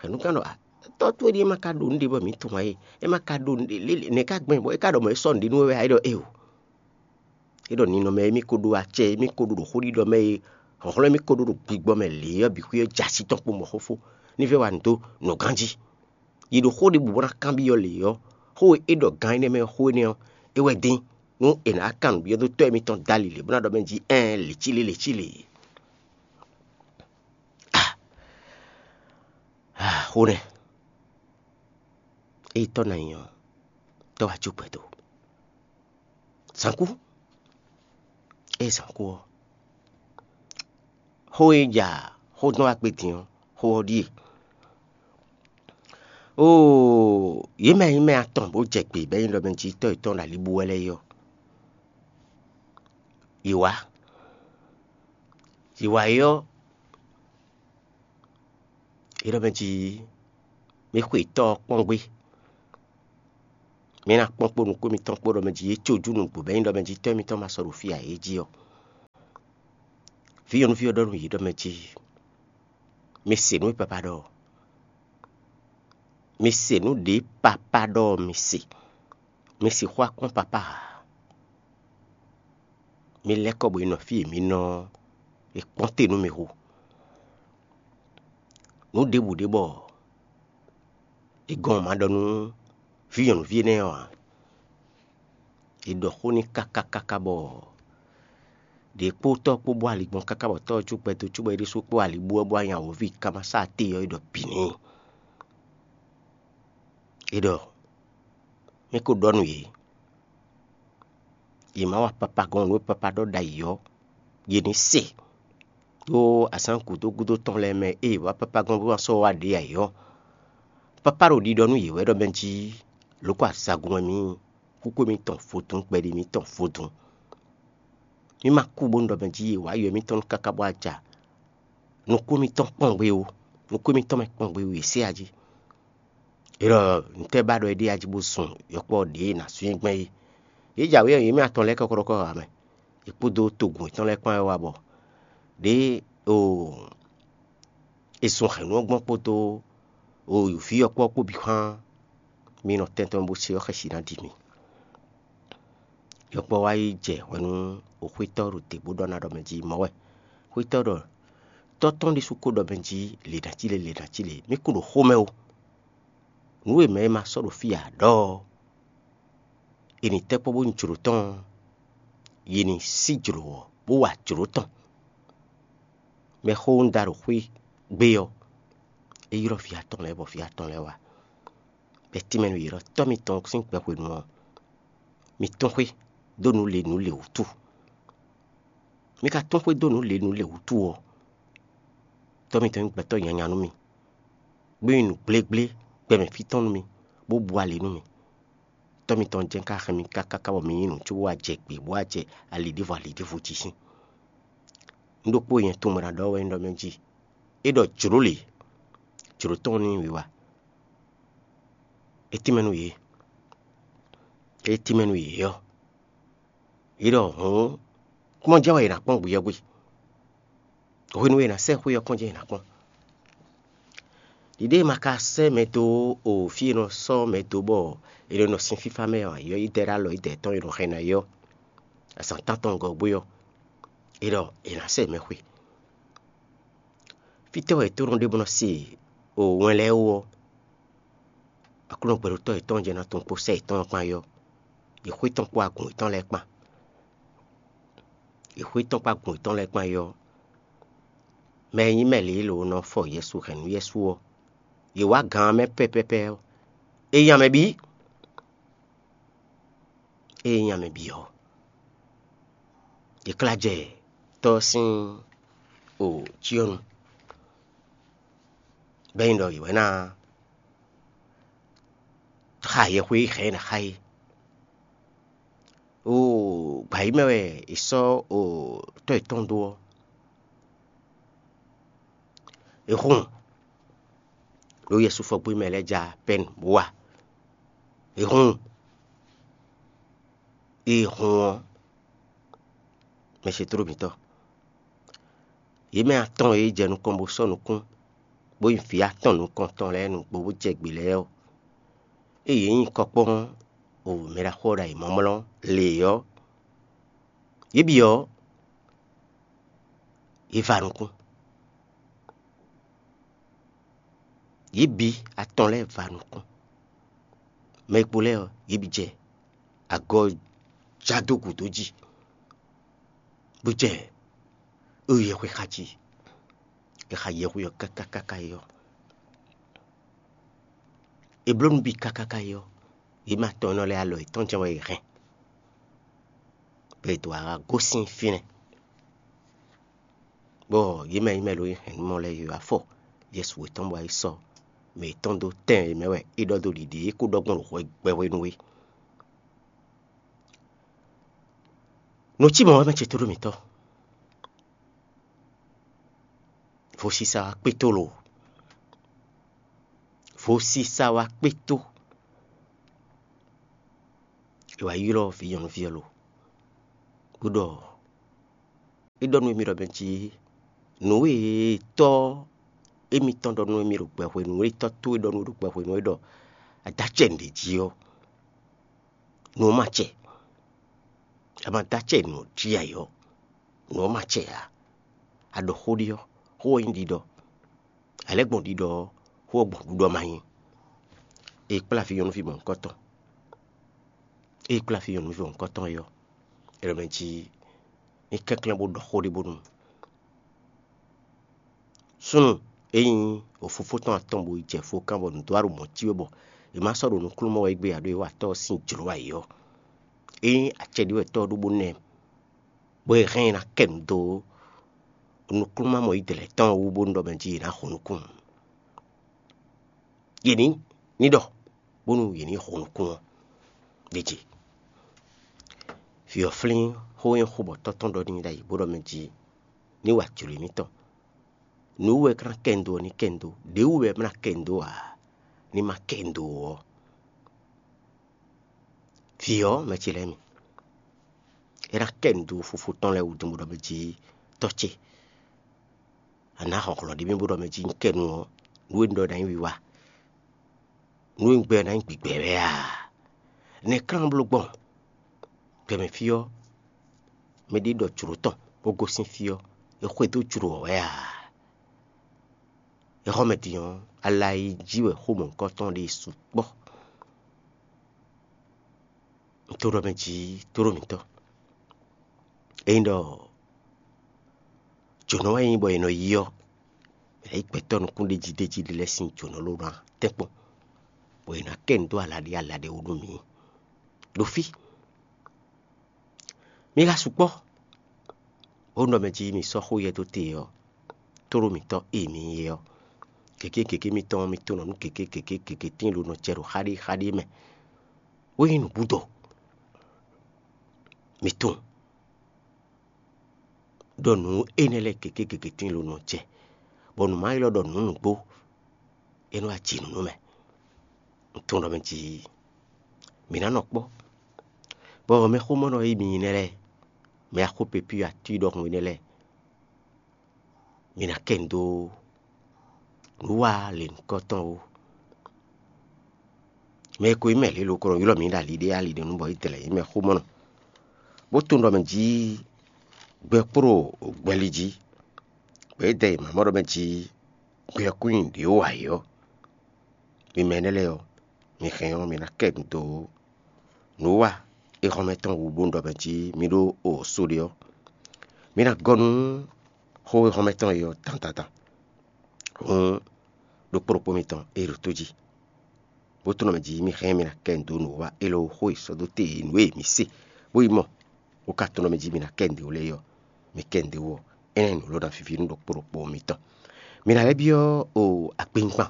Hɛ̌nnugán ɖɔ: "A, tɔ́ towe ɖíe ma ka ɖo nǔɖé bɔ mǐ tunwun ǎ é, é ma ka ɖo nǔɖé lě nɛ̌ ka gbɛn bɔ é ka ɖɔ mɔ̌ é sɔ́ nǔɖé nú we wɛ ǎ?" É ɖɔ: "Éeǒ." É ɖɔ: "Ninɔmɛ e mì ko ɖó acɛ e mì ko ɖó ɖo xó ɖiɖɔ mɛ e hlɔ̌nhlɔ́n e mì ko ɖó ɖo gbigbɔ mɛ lě ɔ́ bǐ xwí ɔ́ jɛ así tɔn kpo mɔ̌ xófó ní vɛ́ wa nǔ dó nǔ ganjí. Yi ɖo xó ɖěbǔ bó ná kanbyɔ́ lě ɔ́, xó e é ɖɔ gan énɛ́ mɛ ɔ́, xó énɛ́ ɔ́, é wɛ dín, nú è nǎ kan nǔbyɔ́ dó Tɔ́ e mitɔn dó ali lě bó ná ɖɔ mɛ jí: Ɛɛn, lě cí lě, lě cí lě." Ah! Ah, xó nɛ́! Ée tɔ́ ná nyí ɔ́, tɔ́ wá jó gbɛdo. Zǎn kú. Ée zǎn kú ɔ́, xó e ja xó dɔn wá kpé din ɔ́, xó ɔ́ ɖíe: Oo, yě mɛ e nyí mɛ atɔn bó jɛ gbe bɔ é nyí ɖɔ mɛ jí tɔ́ yětɔn ɖo ali bú wɛ lɛ́ɛ é ɔ́, yě wá. Yě wá é ɔ́, é ɖɔ mɛ jí: "Mi xwe tɔ́ ɔ́ kpɔ́n gbé." Mi ná kpɔ́n kpó nukún mitɔn kpó ɖɔ mɛ jí yě có jú nǔgbó bɔ é nyí ɖɔ mɛ jí tɔ́ mitɔn ma sɔ́ ɖo fí ǎ é jí ɔ́, vǐ nyɔ̌nuví ɔ́ ɖɔ nú yě ɖɔ mɛ jí: Mi se nǔ e papá ɖɔ ɔ́. Mi se nǔ ɖě papá ɖɔ ɔ́, mi se. Mi sixú wá kpɔ́n papá ǎ. Mi lɛ́ kɔ bɔ è nɔ fí e mi nɔ ɔ́, è kpɔ́n te nú mi hu. Nǔ ɖěbǔ ɖé bɔ è gɔn ma ɖɔ nú vǐ nyɔ̌nuví énɛ́ ɔ́ ǎ. È ɖɔ xó n'i káká káká bɔ ɖě kpó tɔ́ kpó bó ali gbɔn káká bɔ tɔ́ ɔ́ cúgbɛ́ dó cúgbɛ́ ɖésú kpó ali bú wɛ bó wá nyi awǒvi kámasá téyɔ́ é ɖɔ bǐ n'i. É ɖɔ: Mi ko ɖɔ nú yě, yě má wa papagɔn nǔ e papá ɖɔ ɖ'ayǐ ɔ́, yě ní se. Ɖó azǎn gǔdo gúdo tɔn lɛ́ɛ mɛ e yě wá papagɔn bó wá sɔ́ wá ɖě ayǐ ɔ́, papá ɖo ɖiɖɔ nú yě wɛ ɖɔ mɛ jí lǒ kɔ azagun wɛ mǐ nyí, kúkú mitɔn vodún, kpɛɖi mitɔn vodún. Mǐ ma kú bónú ɖɔ mɛ jí yě wá yɔ émítɔn nú káká bó wá ja nukún mitɔn kpɔ́n gbé ó, nukún mitɔn mɛ kpɔ́n gbé ó, yě se ají. É ɖɔ: Ntɛ́ ba ɖɔ é ɖe ají bó zun yɔkpɔ́ ɖě e è nǎ sú nyɛ gbɛn é? Yě jǎwe ɔ́, yě mɛ atɔn lɛ́ɛ kɔ́kɔ́ɖɔkɔ́ ǎ mɛ. Yě kpódó togun yětɔn lɛ́ɛ kpán wɛ wá bɔ ɖě o è zun hɛ̌nnu ɔ́ gbɔn kpódó o vǐ yɔkpɔ́ kpó bǐ xwán. Mi nɔ tɛn tɔn bó se ɔ́ xɛsi ná ɖi mi. Yɔkpɔ́ wá yi jɛ hwɛ nú xwétɔ́ ɖo te bó ɖɔ ná ɖɔ mɛ jí mɔ̌ wɛ. Xwétɔ́ ɖɔ: Tɔ́ tɔn ɖésú ko ɖɔ mɛ jí lě ná cí lě, lě ná cí lě, mí kún ɖo xomɛ ó. Nǔ e mɛ e ma sɔ́ ɖo fí ǎ ɖɔ ɔ́, è nǐ tɛ́ kpɔ́ bó nyí jlǒ tɔn ɔ́, yě ní sí jlǒ ɔ́, bó wa jlǒ tɔn. Mɛxó un da ɖo xwé gbé ɔ́, é ylɔ́ vǐ atɔn lɛ́ɛ bɔ vǐ atɔn lɛ́ɛ wá. Bɔ é tínmɛ nú yě ɖɔ: Tɔ́ mitɔn sín gbɛ hwenu ɔ́, mi tún xwé dó nǔ lě nǔ lě wútu. Mi ka tún xwé dó nǔ lě nǔ lě wútu ɔ́, tɔ́ mitɔn nyí gbɛtɔ́ nyanya nú mi, bó nyí nǔgblégblégbɛmɛ fí tɔn nú mi, bó bu ali nú mi. Tɔ́ mitɔn jɛ́n ka hɛn mi káká bɔ mi nyí nǔ có bó wá jɛ gbě, bó wá jɛ ali ɖěvo ali ɖěvo jí sín. Nǔ ɖokpó e nyɛ tunwun bɔ è nǎ ɖɔ wɛ nyí ɖɔ mɛ jí: É ɖɔ jlǒ lě, jlǒ tɔn ní wiwa. É tínmɛ nú yě, é tínmɛ nú yě ɔ́, yě ɖɔ: Hǔn, kpɔ́n jɛ́n wɛ è nǎ kpɔ́n gbeyɔ́gbé. Hwenu e è nǎ sɛ́ xwé ɔ́ kɔn jɛ́n è nǎ kpɔ́n. Ɖiɖée ma ka sɛ́ mɛ dó o fí e nɔ sɔ́ mɛ dó bɔ è nɔ nɔ sin fífá mɛ ɔ́, ayǐ ɔ́ yi dɛ ɖó alɔ yi dɛ tɔn e nɔ hɛn ná é ɔ́, azǎn tántɔn gɔ́ gbé ɔ́, é ɖɔ è nǎ sɛ́ mɛ xwé. Fítɛ́ wɛ è tónú ɖé bó nɔ se o wɛn lɛ́ɛ ó ɔ́, Aklúnɔ gbɛɖótɔ́ yětɔn jɛ ná tunwun kpó sɛ́ yětɔn ɔ́ kpán é ɔ́, yě xwé tɔn kpó agun yětɔn lɛ́ɛ kpán. Yě xwé tɔn kpó agun yětɔn lɛ́ɛ kpán é ɔ́, mɛ e nyí mɛ lě e lǒ nɔ fɔ Yɛsu hɛn nú Yɛsu ɔ́, yě wá gǎn ɔ́ mɛ pɛ́pɛ́pɛ́ ɔ́, é nyí amɛ bǐ. É nyí amɛ bǐ ɔ́, yě klá jɛ tɔ́ ɔ́ sín o cyɔ́nu, bɔ é nyí ɖɔ yě wɛ ná xa yɛhweyi hɛn e ná xa é. O gbǎ yi mɛ wɛ è sɔ́ o tɔ́ yětɔn dó ɔ́, è hun ɖó Yɛsu fɔgbín mɛ lɛ́ɛ ja pɛ́n bó wá. È hun, è hun ɔ́, mɛ se tló mǐtɔn. Yě mɛ atɔn e jɛ nukɔn bó sɔ́ nukún, bó nyí vǐ atɔn nukɔntɔn lɛ́ɛ nǔgbó bó jɛ gbě lɛ́ɛ ɔ́, ée yě nyi kɔkpɔ́n o mɛ ɖaxó ɔ́ ɖo ayǐmlɔ́mlɔ́ lě ɔ́, yě bǐ ɔ́, yě va nukún. Yě bǐ atɔn lɛ́ɛ va nukún. Mɛ e kpo lɛ́ɛ ɔ́, yě bǐ jɛ agɔ já dó gǔdo jí, bó jɛ yɛhwe xa jí. È xa yɛhwe ɔ́ káká káká é ɔ́, è bló nǔ bǐ káká ká é ɔ́, yě mɛ atɔn énɛ́ lɛ́ɛ alɔ yětɔn jɛ́n wɛ è hɛn, bɔ è dǒ wá gosín fínɛ́. Bɔ yě mɛ e nyí mɛ e ɖo hɛ̌nnumɔ lɛ́ɛ yě wá fɔ Yɛsu yětɔn bɔ é sɔ́ mɛ yětɔn dó tɛn e mɛ wɛ é ɖɔ dó ɖiɖi é kó ɖɔ gbɔn ɖo hwɛ gbɛhwenu é. Nǔ cí mɔ̌ wɛ mɛ ce tóɖó mǐtɔn. Vodísá wá kpétó lo. Vodísá wá kpétó. È wǎ ylɔ́ vǐ nyɔ̌nuví ɔ́ lo, bó ɖɔ é ɖɔ nú émí ɖɔ mɛ jí nǔ e tɔ́ émítɔn ɖɔ nú émí ɖo gbɛ hwenu, nǔ e tɔ́ towe ɖɔ nú we ɖo gbɛ hwenu é ɖɔ a dó acɛ nǔɖé jí ɔ́, nǔ ɔ́ ma acɛ. A ma dó acɛ nǔ ɔ́ jí ǎ ɔ́, nǔ ɔ́ ma acɛ ǎ. A ɖɔ xó ɖi ɔ́, xó ɔ́ nyí ɖiɖɔ; a lɛ́ gbɔn ɖiɖɔ ɔ́, xó ɔ́ gbɔn ɖiɖɔ ma nyí. È kplá vǐ nyɔ̌nuví mɔ̌hunkɔtɔn, é kplá vǐ nyɔ̌nuví mɔ̌hunkɔtɔn é ɔ́, é ɖɔ mɛ jí ní kɛnklɛ́n bó ɖɔ xó ɖé bónú súnnu e nyí wǒfófó tɔn atɔn bo yi jɛ fokán bɔ nǔdó aɖo mɔ̌ cí wɛ bɔ è má sɔ́ ɖo nukúnnú mɔ wɛ égbé ǎ, ɖó é wa tɔ́ ɔ́ sín jlǒ wɛ é ɔ́, é nyí acɛ ɖé wɛ tɔ́ ɔ́ ɖó bó ná ɛ, bɔ è hɛn ɛ ná kɛ nǔ dó nukúnnú mɔ yi dlɛ̌ tɔn wú bónú ɖɔ mɛ jí è nǎ xo nukún. Yě ní ní ɖɔ bónú yě ní xo nukún ɔ́ ɖ'é jí. Vǐ ɔ́ flín xó e xó bɔ tɔ́ tɔn ɖɔ n'i ɖ'ayǐ bó ɖɔ mɛ jí ní wa jlǒ émítɔn. Nǔ wú wɛ é ná kɛ un dó ɔ́ ní kɛ un dó; ɖě wú wɛ é ná kɛ un dó ǎ, ní ma kɛ un dó ɔ́. Vǐ ɔ́, mɛ ce lɛ́ɛ mi, é ná kɛ un dó fofó tɔn lɛ́ɛ wú din bó ɖɔ mɛ jí tɔ́ ce, a nǎ hɔn hlɔ̌ ɖé mì bó ɖɔ mɛ jí un kɛ nu ɔ́, nǔ e un ɖɔ ná nyí wiwa, nǔ e un gbɛ ná nyí gbigbɛ wɛ a? Nɛ̌ klán bló gbɔn? Gbɛmɛ fí ɔ́, mɛɖé ɖɔ jlǒ tɔn bó gosín fí ɔ́, é xwedó jlǒ ɔ́ wɛ a? Exɔ́mɛ din ɔ́, ala e jí wɛ xó mɔ̌hunkɔtɔn ɖe sukpɔ́. Un to ɖɔ mɛ jí tóɖó mǐtɔn. Ényí ɖɔ jǒnɔ wɛ nyí bɔ è nɔ yí ɔ́, è nǎ yí gbɛtɔ́ nukúnɖéjíɖéjí ɖé lɛ́ɛ sín jǒnɔ ló ná tɛ́nkpɔ́n, bɔ è nǎ kɛ nǔ dó ala ɖé ala ɖé wú nú mǐ ɖo fí. Mi ka sukpɔ́, bónú ɖɔ mɛ jí mi sɔ́ xó yɛ dó te ɔ́, tlóló mǐtɔn e mi nyí é ɔ́, gěgé gěgé mitɔn ɔ́, mi tunwun ɖɔ nǔ gěgé gěgé gěgé tíin lo nɔ jɛ ɖo xáɖéxáɖé mɛ, bó nyí nǔbúdo. Mi tunwun ɖɔ nǔ énɛ́ lɛ́ɛ gěgé gěgé tíin lo nɔ jɛ, bɔ nǔ ma ylɔ́ ɖɔ nǔ nǔgbó, é nɔ wá ji nǔ nú mɛ. Un tunwun ɖɔ mɛ jí mǐ ná nɔ kpɔ́, bɔ mɛxómɔnɔ e mi nyí nɛ́ lɛ́ɛ, mɛ axó pepí atú ɖɔhun énɛ́ lɛ́ɛ, mi ná kɛ nǔ dó nǔ wa lěhunkɔtɔn ó. Mɛ e ko nyí mɛ lě lokolɔ ylɔ́ mǐ ɖo ali ɖé ali ɖé nu bɔ é dlɛ̌ nyí mɛxómɔnɔ, bó tunwun ɖɔ mɛ jí gbɛ kpó ɖo gbɛli jí, bɔ é dɛ yi mǎmɔ́ ɖɔ mɛ jí gbɛ ɔ́ kún nyi ɖě wú ayǐ ɔ́. Mi mɛ énɛ́ lɛ́ɛ ɔ́, mi hɛn ɔ́, mi ná kɛ nǔ dó nǔ wa e hɔnmɛ tɔn wú bónú ɖɔ mɛ jí mi ɖó o so ɖe ɔ́. Mi ná gɔ́ nú xó e hɔnmɛ tɔn e ɔ́ dandandan. Hǔn ɖokpó ɖokpó mitɔn e ɖo tó jí, bó tunwun mɛ jí mi hɛn mi ná kɛ nǔ dó nǔ wa élɔ́ xó e sɔ́ dó te nǔ e mi se, bó yi mɔ, bó ka tunwun mɛ jí mi ná kɛ nǔ dó lɛ́ɛ ɔ́, mi kɛ nǔ dó ɔ́, énɛ́ nǔ lɔ ná víví nú ɖokpó ɖokpó mitɔn. Mi ná lɛ́ byɔ́ o akpinkpan,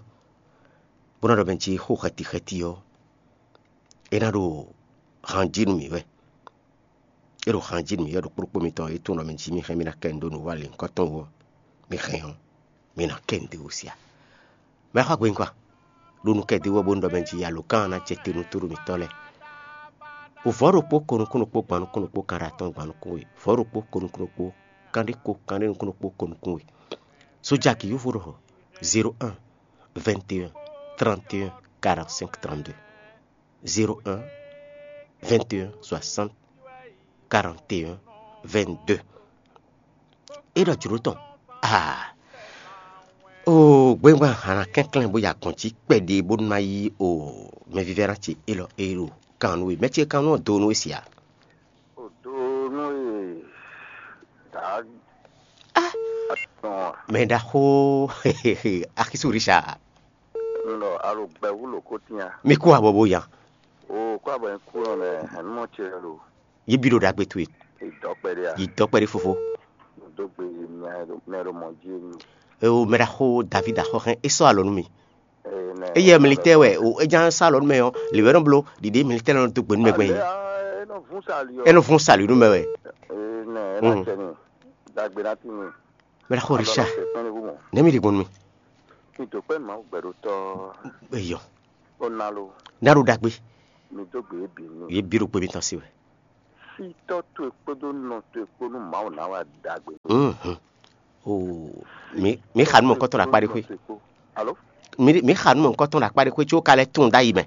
bó ná ɖɔ mɛ jí xó xɛti xɛti ɔ́, é ná ɖo han jí nú mǐ wɛ. É ɖo han jí nú mǐ wɛ ɖo kplɔ́kpó mitɔn e tunwun ɖɔ mi jí mi hɛn mi ná kɛ nǔ dó nǔ wa lěhunkɔtɔn wú ɔ́, mi hɛn ɔ́, mi ná kɛ nǔ dó wú sia. Mɛ xɔ agbe nukɔn, ɖo nǔ kɛ dó wú ɔ́ bónú ɖɔ mɛ jí alǒkan ɔ́ ná jɛ te nú tóɖó mǐtɔn lɛ́ɛ. Vɔ̌ ɖokpó ko nukún ɖokpó gban nukún ɖokpó kan ɖo atɔn gban nukún we, vɔ̌ ɖokpó ko nukún ɖokpó kanɖé ko kanɖé nukún ɖokpó ko nukún we. Sójaki yúvo ɖɔ zéro un vingt et un trente et un quarante-cinq trente-deux. Zéro un vingt et un soixante quarante et un vingt-deux. É ɖɔ jlǒ tɔn. Aa! Oo, gbɛ́ngbɛ́n hana kɛnklɛ́n bó yi agbɔ̌n jí kpɛɖé bónú ná yí o mɛvívɛ́ná ce élɔ́ e ɖo kan nú we. Mɛ ce kan nú ɔ́ do nú we sia. O do nú e dǎ atɔn a? Mɛ ɖaxó Akisu Richard. Un ɖɔ a ɖo gbɛ̌ wú lǒ kó tínnya. Mi kú abɔ bó ya. O kó abɔ nyɛ kú nɔ mɛ hɛn nú mɔ ce lo. Yi bi ɖo ɖagbe towe. Yi dɔ kpɛɖé a? Yi dɔ kpɛɖé fofo. Dó gbe yi mɛ ɖo mɛ ɖo mɔ jí mi. Eo mɛ ɖaxó David axɔxɛn é sɔ́ alɔ nú mi. Eyɛ militɛ wɛ o, é ján sá lɔ nú mɛ ɔ́, lě wɛ nɔ bló ɖiɖe militɛ nɔ dó gbe nú mɛ gbɛn yìí. É nɔ vún sali ɔ́. É nɔ vún sali nú mɛ wɛ. Ee nɛ é ná cɛ ni dagbe ná ti ni. Mɛ ɖaxó Richard, nɛ̌ mi ɖe gbɔn nú mi? Kí n tó pẹ́ màá gbẹ̀rú tọ́. Eyɔ. Ó ná ló. Ná ɖo ɖagbe. Mi dó gbe yě bǐ nú. Yě bǐ ɖo kpé mitɔn sí wɛ. Sítɔ́ towe kpódó nɔ towe kpó nú Mawu ná wá ɖagbe. Mhm. O, mi mi xa nú mɔ̌kɔtɔn ɖo akpá ɖé xwé. Alo? Mi mi xa nú mɔ̌kɔtɔn ɖo akpá ɖé xwé có ka lɛ́ tunwun ɖ'ayǐ mɛ.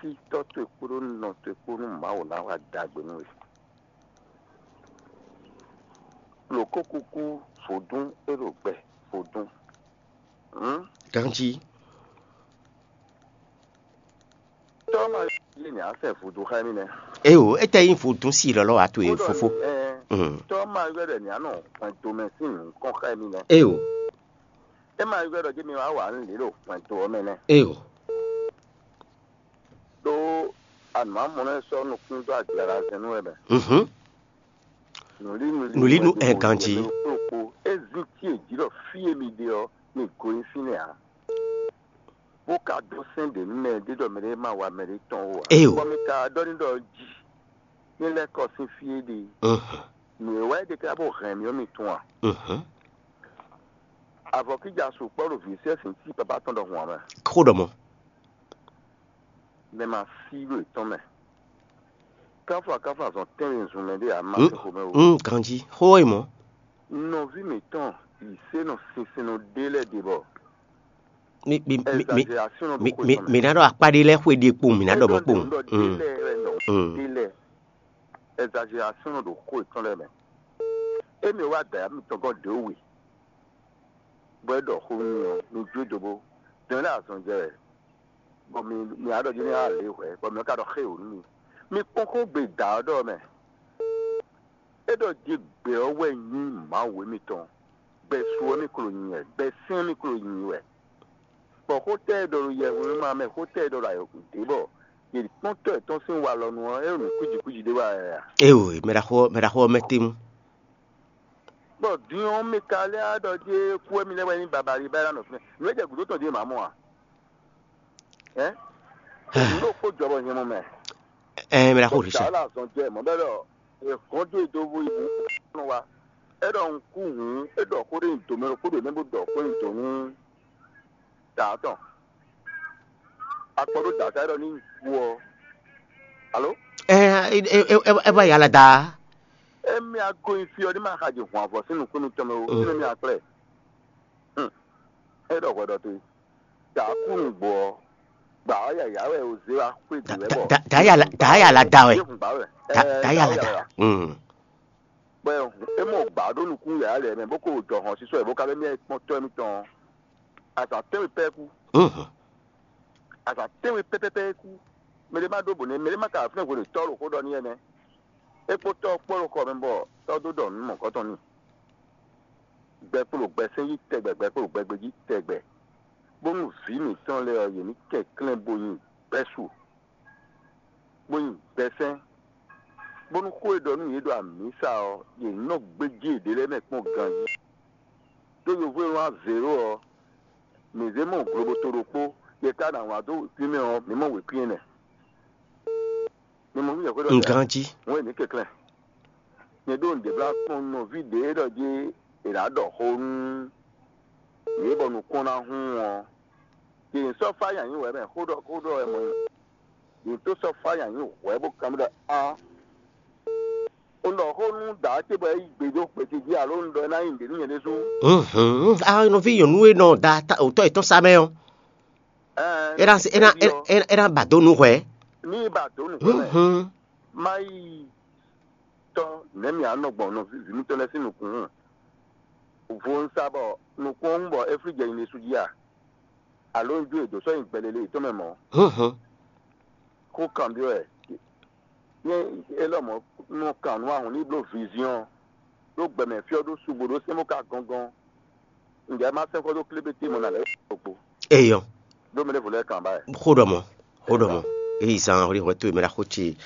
Sítɔ́ towe kpódó nɔ towe kpó nú Mawu ná wá ɖagbe nú we. Lǒ kó kúkú vodún é ɖo gbɛ vodún. Hǔn Ganjí. Tɔ́ ma yí ni á sɛ vodún xá mì nɛ́. Éyo, étɛ́ nyí vodún sí lɔlɔ́ wá to e fofó. Ɛ, Mm. Tɔ́ ma yɔ ɖɛ ni á nɔ hwɛndo mɛ sín nǔkɔn xá mì nɛ́. Éyo. É ma yɔ ɖɔ jí mi wá wà nú lě ɖo hwɛndo ɔ́ mɛ nɛ́. Éyo. Ɖó anǔmamɔnɔ e sɔ́ nukún dó agblaɖazɛn nú wɛ mɛ. Mhm. Nǔlínu Nǔlínu wɛ ɛ ganjí. Kplokpó. É zín tí è jí ɖɔ fí e mi ɖe ɔ́, mi go nyi fínɛ́ ǎ. Bó ka dó sɛ́n ɖě nú mɛ ɖé ɖɔ mɛ ɖé ma wa mɛ ɖé tɔn ó ǎ. Éyo. Bɔ mi ka ɖɔ ní ɖɔ jí ní lɛ́ kɔ sín fí é ɖe. Mhm. Nǔ e wá é ɖe ká bó hɛn mì ɔ́ mi tunwun a? Mhm. Avɔ kíjà sukpɔ́ ɖo vǐ sɛ́sìn tí papá tɔn ɖɔhun ǎ mɛ. Xó ɖɔ mɔ. Mɛ ma sí ɖo yětɔn mɛ. Káfɔ akáfɔ azɔn tɛ́nwe zun mɛ ɖé a ma Mm, se xomɛ o. Mm, ganjí. Xó e mɔ. Nɔví mǐtɔn yi se nɔ sinsin nɔ ɖé lɛ́ɛ ɖe bɔ Mi mi mi mi exagération nɔ mi ɖo xó mi tɔn mɛ. Mi ná ɖɔ akpá ɖé lɛ́ɛ xwé ɖe kpowun, mi ná ɖɔ mɔ kpowun. Ɖɔ Mm. Ɖé lɛ́ɛ wɛ nɔ Mm. Ɖé lɛ́ɛ. Exagération nɔ ɖo xó yětɔn lɛ́ɛ mɛ. Emi wá dǎyá mitɔn gɔ́ ɖě we. Bɔ é ɖɔ xó nú mi ɔ́, mi jó do bó. Dɛn lɛ́ɛ azɔn jɛ wɛ. Bɔ mi mi á ɖɔ jí ní á lě hwɛ̌, bɔ mi ka ɖɔ xé wǒ nú mi. Mi kpɔ́n xó gbe dǎ ɔ́ ɖɔ mɛ. É ɖɔ jí gbɛ ɔ́ wɛ nyí Mawu émítɔn. Gbɛ su ɔ́ mì klo nyi wɛ, gbɛ sɛ́n mì klo nyi wɛ. Bɔ xó tɛ́ e ɖɔ ɖo yɛhwemɛ mɛ, xó tɛ́ e ɖɔ ɖo ayɔkun ɖě bɔ yě kpɔ́n tɔ́ yětɔn sín walɔ nu ɔ́, é ɖo nǔ kwíji kwíji ɖé wa wɛ a? Éyo, mɛ ɖaxó mɛ ɖaxó ɔ́ mɛ tɛ́nnu. Bɔ din ɔ́, mi ka lɛ́ ɖɔ jí kú wɛ mi lɛ́ wɛ nyí babali bá é ná nɔ fínɛ́. Nǔ e jɛ gǔdo tɔn jí è má mɔ a? Ɛ? Nǔ ɖokpó jɔ bɔ nyɛ mɔ mɛ. Ɛ mɛ ɖaxó Richard. Dǎ la zɔn jɛ mɔ bɛ ɖɔ è hɔn dó e dó bó yi bú nɔ wa. É ɖɔ un kú hǔn, é ɖɔ xó ɖé nyi dǒ mɛ ɖokpó ɖo nɛ́ bó ɖɔ xó nyi dǒ nú dǎ tɔn. Akpɔ ɖó dǎ ta é ɖɔ ní kú ɔ́. Alo? Ɛ ɛ ɛ ɛ ɛ ba yala da. Émi ago nyi fí ɔ́ ní ma xa jɛ hɔn avɔ sín nukúnnú tɔn mɛ o, Mm. Sín émi akplɛ. Hum. É ɖɔ hwɛ ɖɔ te. Dǎ kú nǔgbó ɔ́, gbǎ ɔ́ yǎyá wɛ o zé wá xwé dǐ wɛ bɔ. Dǎ yala da wɛ. Dǎ yala da. Bɔ é mɔ gbǎ ɖó nukún yǎyá lɛ́ɛ mɛ, bó ko jɔ hɔn sísɔ ɛ bó ka lɛ́ mɛ kpɔ́n tɔ́ émítɔn. Azǎn tɛ́nwe pɛ́ kú. Azǎn tɛ́nwe pɛ́pɛ́pɛ́ kú. Mɛ ɖé má ɖó bǒ nɛ́, mɛ ɖé má ka fínɛ́ hwenu tɔ́ ɖo xó ɖɔ n'i wɛ nɛ́. É kpó tɔ́ ɔ́ kpó ɖo xɔ mɛ bɔ tɔ́ dó ɖɔ nǔ mɔ̌kɔtɔn n'i. Gbɛ kpo ɖo gbɛ sɛ́n jí tɛgbɛ, gbɛ kpo ɖo gbɛ gbe jí tɛgbɛ. Bónú vǐ mǐtɔn lɛ́ɛ ɔ́, yě ní kɛnklɛ́n bo nyi gbɛ́su, bó nyi gbɛsɛ́n, bónú xó e ɖɔ nú yě ɖo amǐsa ɔ́, yě ní nɔ gbéjé yěɖée lɛ́ɛ mɛ kpɔ́n ganjí. Ɖó yovo e wlán zěɖó ɔ́, mǐ zé mɔ globoto ɖokpó, yě ka ná wlán dó wěkwín mɛ ɔ́, mǐ mɔ wěkwín ɛnɛ. Mi mɔ nú yɛhwé ɖɔ Un ganjí. Wɛn ní kɛnklɛ́n. Nyɛ ɖó nǔɖé blá kpɔ́n nɔví ɖě ɖɔ jí è nǎ ɖɔ xó nú yě bɔ nukɔn ná hun ɔ́. Yě sɔ́ fá nyanyi wɛ mɛ xó ɖɔ xó ɖɔ wɛ mɔ. Yě tó sɔ́ fá nyanyi wɛ bó kan ɖɔ á. Un ɖɔ xó nú dǎ ce bɔ é yí gbe dó xwete jí alo un ɖɔ é ná nyí nǔɖé nú nyɛ ɖésú. Mhm. Ah, nɔví nyɔ̌nu e nɔ da ta- òtɔ́ yětɔn sá mɛ ɔ́, Ɛɛ, é ná é ná é ná- é ná ba dó nǔ hwɛ. Ní ba dó nǔ hwɛ mɛ. Mhm. Má yi tɔ́ nɛ̌ mì á nɔ gbɔn nɔví vǐ mitɔn lɛ́ɛ sín nukún hǔn. Vo un sa bɔ nukún ɔ́ hún bɔ é flí jɛ nyi ɖésú jí a? Alo un jó e dǒ sɔ́ nyi gbɛ lele yětɔn mɛ mɔ̌? Mhm. Xó kanbyɔ́ wɛ. Nyɛ élɔ́ mɔ̌ nɔ kan nǔ ahɔn ní bló viziɔn ɖó gbɛmɛ fí ɔ́ ɖó subo ɖó sɛ́n bó ka gɔ́ngɔ́n. Ǹjẹ́ má sɛ́n xɔ dó klébeté mɔ nǎ lɛ́ɛ ɖokpó? Eyɔ. Ɖó mɛ ɖěvo lɛ́ɛ kan ba wɛ. Xó ɖɔ mɔ, xó ɖɔ mɔ. Eyi zan ɔ́ hwɛ towe mɛ ɖaxó ce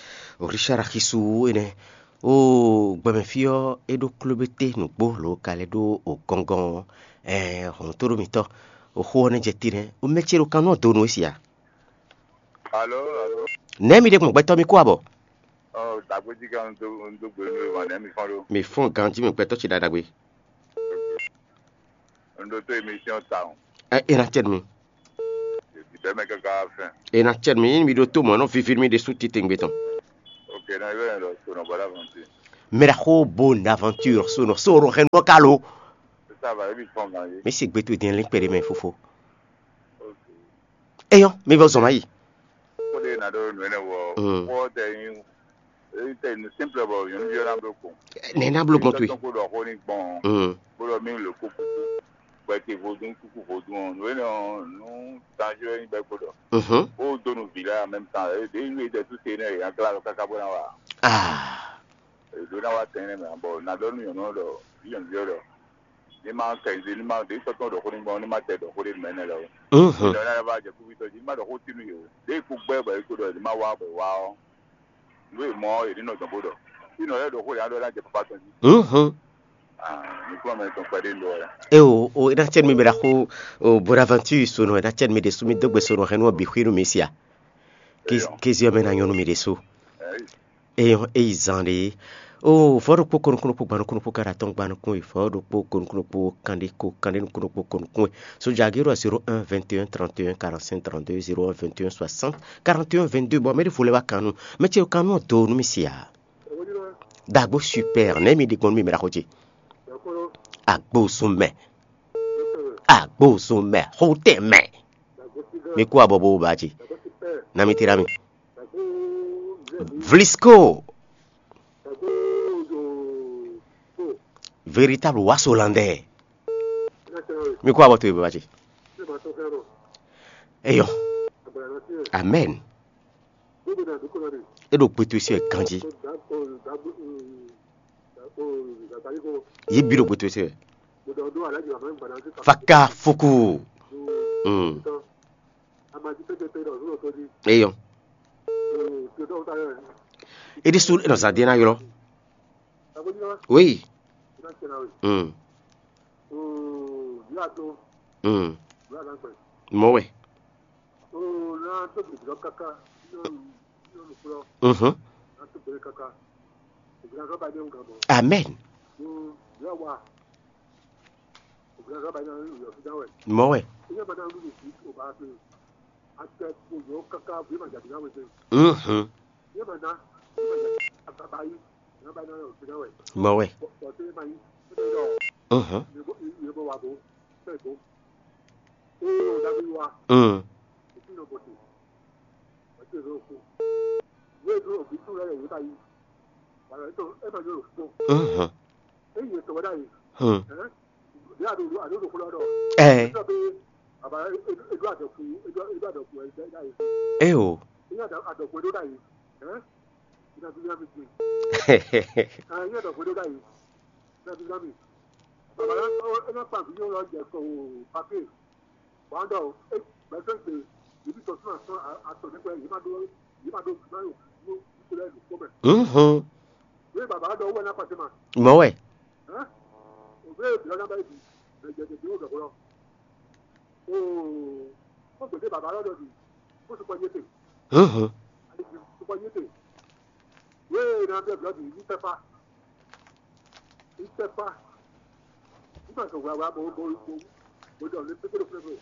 Richard Axisu énɛ́. O gbɛmɛ fí ɔ́, é ɖó klébeté nǔgbó lǒ ka lɛ́ ɖó o gɔ́ngɔ́n ɔ́. Ɛɛ hɔn tó ɖó mitɔ́. O xó ɔ́ nɛ́ jɛ te nɛ́. O mɛ ce ɖo kan nú ɔ́ do nú é sia. Alo, alo. Nɛ̌ mi ɖe gbɔn gbɛtɔ́ mi kó abɔ? Ɔ, dagbe jí kan do do gbe nú ma nɛ mi fɔn ɖo. Mi fɔn ganjí mi gbɛtɔ́ ce ɖaɖagbe. N ɖo tó émission ta o. Ɛ é ná tɛ nu. Bɛmɛ kaka fɛn. E na cɛ mi mi ɖo to mɔ nɔ vivi mi ɖe su titengbe tɔn. Ok, na yɔ yɛn lɔ so nɔ bɔla fɔn ti. Mira xo bo na aventure so nɔ so ro hɛn nɔ kalo. Ça va, ebi fɔn gan yi. Mi si gbe to din lin kpɛɖe mɛ fofo. Ok. Eyɔ, mi vɔ zɔn ma yi. Ko de na ɖo nɔ ne wɔ. Mm. Ko de yin. E te nu simple bɔ yɔn yɔ na blo ko. Ne na blo gbɔn to yi. Ko dɔ ko ni gbɔn. Mm. Bolo mi le ko kuku. Bɛ te vodun kuku vodun. No ne no tanjo ni bɛ ko dɔ. Mhm. O do nu vi la en même temps. E de nu e de tout c'est ne ya kla kaka bo na wa. Ah. E do na wa tɛnɛ mɛ bɔ na dɔ nu yɔn dɔ. Yɔn yɔ dɔ. Ní ma kɛ ní ma ɖě sɔ́ tɔn ɖɔ xó ní gbɔn ní ma tɛ ɖɔ xó ɖé mɛ nɛ lɛ o. Mhm. Ní ma ɖɔ xó tínú yě o. Ɖěe kú gbɛ́ bɔ é kú ɖɔ ní ma wá bɔ é wá ɔ́, nú è mɔ ɔ́, è ní nɔ dɔn bó ɖɔ. Fínɔ lɛ́ɛ ɖɔ xó ɖě á ɖɔ ná jɛ papá tɔn jí. Mhm. Ah, ní kúnɔ mɛ tɔn kpɛɖé ń ɖɔ wɛ. E o o e na cɛ mi bɛ da xo o Bonaventure so nɔ e na cɛ mi ɖe su mi dó gbe so nɔ hɛn nú ɔ bǐ xwínu mi sia. Kéziɔ mɛ na nyɔnu mi ɖe so. Eyɔn eyi zan ɖe. O vɔ̌ ɖokpó ko nukúnnú kpó gban nukúnnú kpó káɖa tɔn gban nukún yi vɔ̌ ɖokpó ko nukúnnú kpó kanɖé ko kanɖé nukúnnú kpó ko nukún yi. Sojagiro zéro un vingt et un trente et un quarante-cinq trente-deux, zéro un vingt et un soixante quarante et un vingt-deux. Bɔ mɛ ɖé vo lɛ wá kan nu mɛ ce kan nu do nu mi si a. Dagbo super nɛ mi ɖi gbɔn mi mɛ ɖaxo ce. Agbo sun mɛ. Agbo sun mɛ xotɛ mɛ. Mi kú abɔ bo ba ce. Na mi tira mi. Vlisco. Véritable waso landɛ. Mi kó abɔ to yi baba ce. Eyɔ. Amen. E ɖo kpɛtɔ si ganji. Yi bi ɖo kpɛtɔ si. Faka fuku. Mm. Eyɔ. E ɖi su e nɔ zan de na ylɔ. Oui. Mm. Mm. Mɔ wɛ. Mhm. Amen. Mɔ wɛ. Mhm. Mɔ wɛ. Mhm. Mm. Mhm. Hmm. Eh. Eh o. Mhm. Mɔ wɛ. Mhm.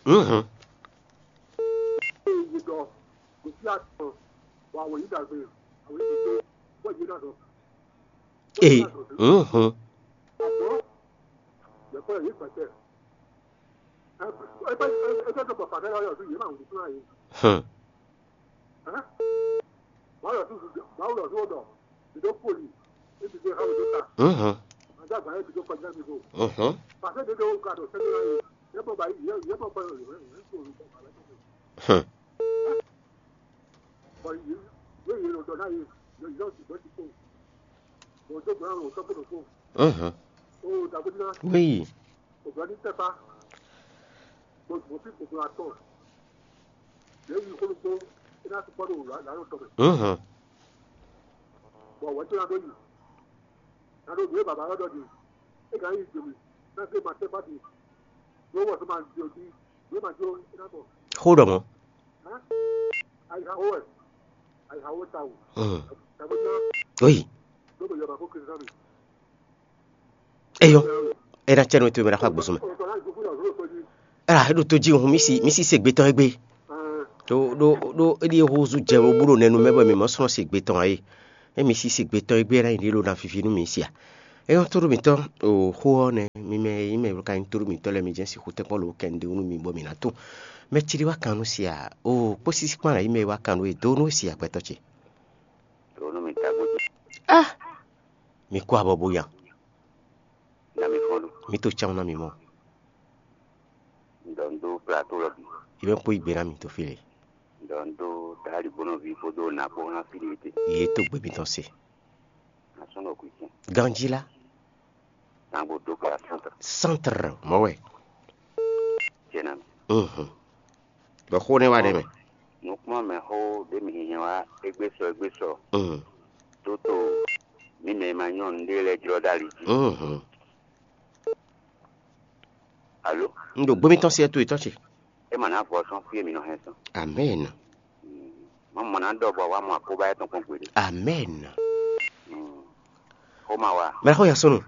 Mhm. Ee. Mhm. Hmm. Mhm. Mhm. Hmm. Mhm. Oui. Mhm. Xó ɖɔ mɔ̌. Mhm. Oui. Eyɔ. E na cɛ nɔ to mɛ ɖo axɔ agbosɔ mɛ. Ela e ɖo to jí hun mi si mi si se gbe tɔn egbe. Ɖó ɖó ɖó é ɖíe húzú jɛ bó ɖo nɛnu mɛ bɔ mǐ mɔ slɔ́n sigbe tɔn ǎ é. Émí sí sigbe tɔn e gbé ná nyi ɖě ɖo ná fifi nú mǐ sia. É nyɔ́ tóɖó mǐtɔn o xó ɔ́ nɛ́, mi mɛ e nyí mɛ e ka nyí tóɖó mǐtɔn lɛ́ɛ, mi jɛ́n sixú tɛ́nkpɔ́n lǒ kɛ un ɖe nú mi bɔ mǐ ná tunwun. Mɛ ce ɖé wá kan nú sia o kpó sísí kpán ná nyí mɛ e wá kan nú e dó nú e sia gbɛtɔ́ ce. Ɖǒ nú mi tagbó ce. Ah! Mi kó abɔ bó ya. Ná mi fɔ́n ɖo. Mi to cán ná mi mɔ. Un ɖɔ un dó plato lɔ bǐ. Yi mɛ kpó yi gbe ná mi to fí lě. Un ɖɔ un dó dali bónɔví kpódó nǎ kpó ná fí lě te. Yě to gbe mitɔn se. Ná sɔ́ nɔ kú cɛn. Ganjí lá. Ná gbó dó kpla sɔ́ntr. Sɔ́ntr mɔ̌ wɛ. Cɛn ná mi. Mhm. Bɔ xó nɛ́ wá ɖɛ mɛ. Nukplɔ́nmɛxó ɖé mi hinhɛn wá égbé sɔ égbé sɔ. Mhm. Tó to mǐ mɛ e ma nyɔ́ nǔɖé lɛ́ɛ jlɔ́ ɖó ali jí. Mhm. Alo? Un ɖo gbémítɔn sí ɛ towe tɔn ce. É ma ná vɔ sɔ́n fí e mǐ nɔ hɛn sɔn. Amɛn. Má mɔ ná ɖɔ bɔ wá mɔ akóbá yɛ́ tɔn kpɔ́n gbeɖé. Amɛn. Xó ma wá. Mɛ xó ya sɔnnu.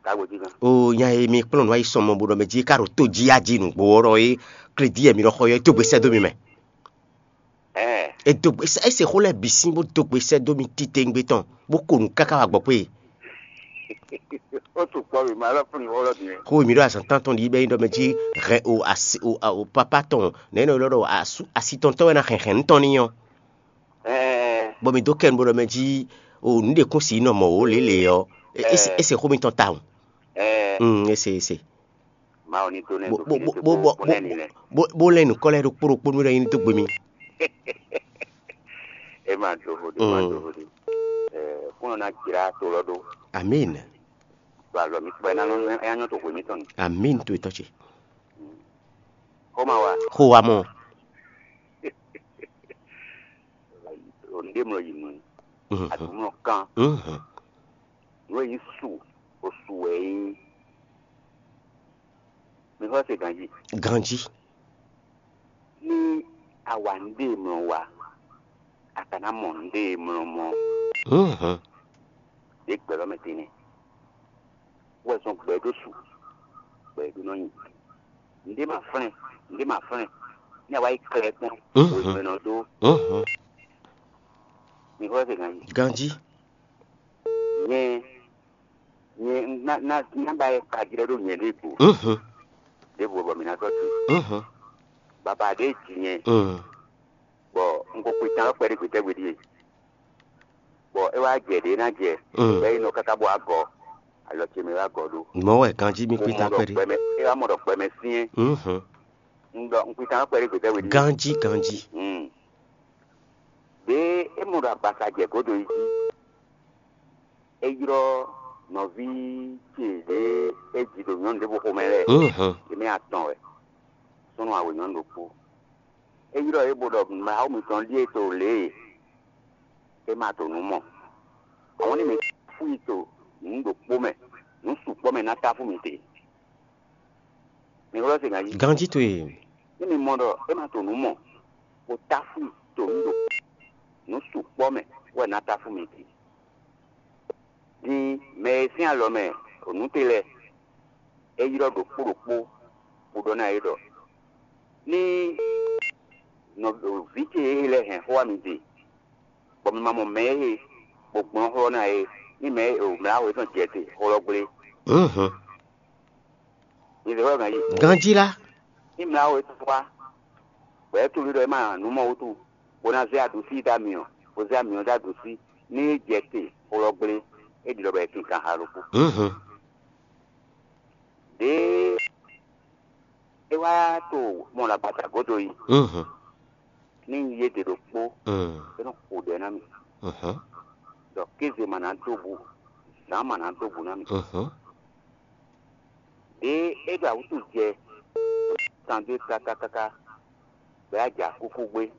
Ká gbe jí gán. O nya e mi kplɔ́n nǔ ayi sɔmɔ bo ɖɔ mɛ jí ká ɖo tó jí ya jí nǔgbó ɔ́ ɖɔ é, klédí e mi ɖɔ xɔ yɔ é dó gbe sɛ́ dó mi mɛ. Ɛɛ. É dó gbe sɛ́ é se xó lɛ́ɛ bǐ sín bó dó gbe sɛ́ dó mi titewungbe tɔn bó ko nǔ káká wá gbɔ kpé. Ó tu kpɔ́ mi ma lɔ fún mi xó lɔ bǐ mɛ. Xó e mi ɖɔ azǎn tántɔn ɖi bɛ nyí ɖɔ mɛ jí hɛn o asi o o papa tɔn nɛ̌ nɔ ylɔ́ ɖɔ asu asi tɔn tɔn wɛ ná hɛn hɛn nǔ tɔn n'i ɔ́. Ɛɛ. Bɔ mi dó kɛ nǔ bó ɖɔ mɛ jí o nǔ ɖe kún si nɔ mɔ wǒ lě lě ɔ́, é- é se- é se xó mitɔn tawun. Ɛɛ. Mm, é se é se. Mawu ní tó nɛ́ Bó- dó bó- fínɛ́ bó- tó bó- bó- bó nɛ́ ní lɛ́. Bó- bó lɛ́ nǔkɔ lɛ́ɛ ɖokpó ɖokpó nú ɖɔ é ní dó gbe mi. É ma dó vo ɖé, é ma dó vo ɖé. Ɛɛ, kúnɔ ná jlá to lɔ ɖó. Amín. Ɖo alɔ mi kpɛ ná nɔ é nyɔ to hwe mitɔn ni. Amín to etɔ́ ce. Xó ma wa. Xó wa mɔ. Nɖé mlɔ yi nɔ. Mhm. Adumlɔ kan. Mhm. Nú e nyí su, o su wɛ é nyí. Mi xɔ se ganji. Ganji. Ní a wa nɖé mlɔ wa, a ka ná mɔ nɖé mlɔ mɔ. Mhm. Ɖě gbɛ̌ lɔ mɛ tɛnɛ. Wɛ zɔn gbɛ ɖó su, gbɛ ɖó nɔ nyi. Nɖé ma flɛ́n, nɖé ma flɛ́n. Ní a wá yi klɛ kpɔ́n, Mhm. wěgbɛ́nɔ dó. Mhm. Mi xɔ se ganji. Ganji. Nyɛ, nyɛ ná ná ná ba yɛ kajlɛ́ ɖó nyɛ ɖěvo. Mhm. Ɖěvo bɔ mi ná tɔ́ tu. Mhm. Baba ɖé ji nyɛ, Mm. bɔ un ko kpé tán lɔ kpɛɖé gbětɛ́ gbe ɖíe. Bɔ é wá jɛ ɖě ná jɛ, Mm. bɔ é nɔ káká bɔ agɔ, alɔ ce mɛ wá gɔ ɖó. Mɔ̌ wɛ ganjí mi Mo kpé mɔ tán ɖɔ kpɛɖé. Gbɛmɛ, é wá mɔ ɖɔ gbɛmɛ syɛ́n. Mhm. Un ɖɔ un kpé tán lɔ kpɛɖé gbětɛ́ gbe ɖíe. Ganjí ganjí. Mm. Ɖě é mɔ ɖɔ agbaza jɛ gǒdo yi jí, é ylɔ́ nɔví ce ɖě é ji ɖo nyɔ̌nu ɖěvo xomɛ lɛ́ɛ, Mhm. yě mɛ atɔn wɛ, súnnu awe nyɔ̌nu ɖokpó. É ylɔ́ yě bó ɖɔ Mawu mitɔn ɖíe to lě e é ma to nǔ mɔ. Àwọn ní mi táfú yi to nǔ ɖokpó mɛ, nǔ sukpɔ́ mɛ ná táfú mi te. Mi ylɔ́ se ganjí. Ganjí towe. Ní mi mɔ ɖɔ é ma to nǔ mɔ, bó táfú yi to nǔ ɖokpó, nǔ sukpɔ́ mɛ wɛ ná táfú mi te. Din mɛ e sín alɔ mɛ nǔ te lɛ́ɛ, é ylɔ́ ɖokpó ɖokpó, bó ɖɔ ná yě ɖɔ: Ní nɔví ce e lɛ́ hɛn xó wá mi din, bɔ mi ma mɔ mɛ e bó gblɔ́n xlɔ́ ná é, ní mɛ e mlǎ wětɔn jɛ te xlɔ́ gblé. Mhm. Mi zɛ xlɔ́ ganjí. Ganjí lá. Ní mlǎ wětɔn wá, bɔ é tunwun ɖɔ é ma nǔ mɔ wútu, bó ná zé aɖǔsí dó amyɔ, bó zé amyɔ dó aɖǔsí, ní é jɛ te xlɔ́ gblé, é ɖi ɖɔ bɔ é kinkan ha ɖokpó. Mhm. Ɖěe é wá to mɔ ɖo agbata gǒdo yi, Mhm. ní un yí éɖě ɖokpó, Mm. é nɔ xo ɖɛ ná mì, Mhm. ɖɔ kéze ma ná dó bu, zǎn ma ná dó bu ná mì. Mhm. Ɖěe é ɖo awǔtu jɛ, kan dó káká káká, bɔ é wá jɛ akúkú gbé.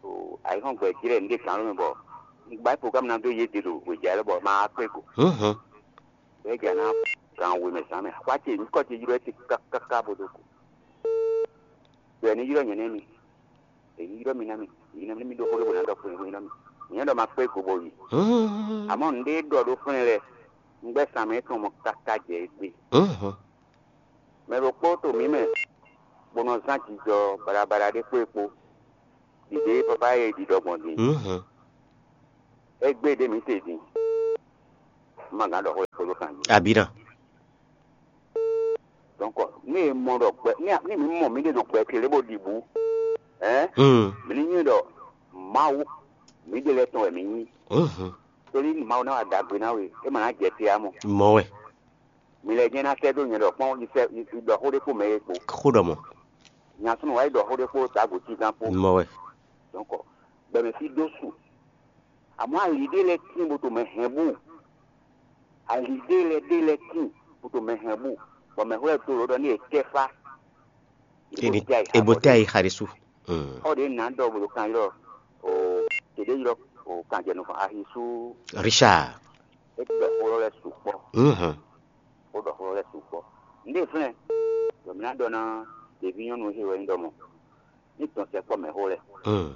O ayǐhɔ́ngbe jlɛ́ nǔɖé gǎn mɛ bɔ un gbá programme ná dó yě ɖe ɖo hwejǎ lɛ́ɛ bɔ ma wá kpé go. Mhm. Bɔ é jɛ ná gan we mɛ zǎn mɛ. Xwá ce nyǐkɔ ce ylɔ́ ɛ te káká bó dó go. Bɔ è ní ylɔ́ nyɛ nɛ́ mi. È ní ylɔ́ mi ná mi. È ní mi ɖó xó ɖé bó ná ɖɔ xó ylɔ́ mi. Nyɛ ɖɔ ma kpé go bó yi. Mhm. Amɔ̌ nǔɖé ɖɔ ɖó flɛ́n lɛ. Un gbɛ́ sǎn mɛ tɔn mɔ káká jɛ égbé. Mhm. Mɛ ɖokpó to mǐ mɛ, bó nɔ zán jijɔ baɖabaɖa ɖé kpó e kpó. Ɖiɖe e papa e ɖiɖɔ gbɔn din. Mhm. Égbé ɖé mǐ se din. Ma gǎn ɖɔ xó e kpódó kan jí. Abǐ ná. Donc, ní e mɔ ɖɔ gbɛ, ní ní mǐ mɔ mǐɖée ɖo gbɛ ce lě bó ɖi bǔ, hɛn, Mm. mǐ ní nywɛ́ ɖɔ Mawu, mǐɖée lɛ́ɛ tɔn wɛ mǐ nyí. Mhm. Tóli Mawu ná wa ɖagbe ná we, é ma ná jɛ te ǎ mɔ. Mɔ wɛ. Mi lɛ jɛ́n ná sɛ́ dó nyɛ ɖɔ kpɔ́n, yi sɛ́ yi ɖɔ xó ɖé kpó mɛ é kpo. Xó ɖɔ mɔ. Nya súnnu wá yi ɖɔ xó ɖé kpó Dǎgbǒtígán kpó. Mɔ wɛ. Donc, gbɛmɛ fí ɖó su. Àmọ́ ali ɖé lɛ́ɛ tín bó to mɛ hɛn bú. Ali ɖé lɛ́ɛ ɖé lɛ́ɛ tín bó to mɛ hɛn bú. Bɔ mɛ xó lɛ́ɛ to lǒ ɖɔ ní è tɛ́ fá. Ebo tɛ ayi xa ɖésú. Xɔ ɖě nǎ ɖɔ bó ɖo kan ylɔ́ o tě ɖé ylɔ́ o kanjɛnukɔn ahi sú. Richard. É ɖɔ xó lɛ́ sukpɔ́. Mhm. Ó ɖɔ xó lɛ́ sukpɔ́. Nǔɖé flɛ́n ɖɔ mǐ ná ɖɔ ná ɖeví nyɔ́nu he wɛ nyí ɖɔ mɔ ní dɔn sɛkpɔ́ mɛ xó lɛ́. Mm.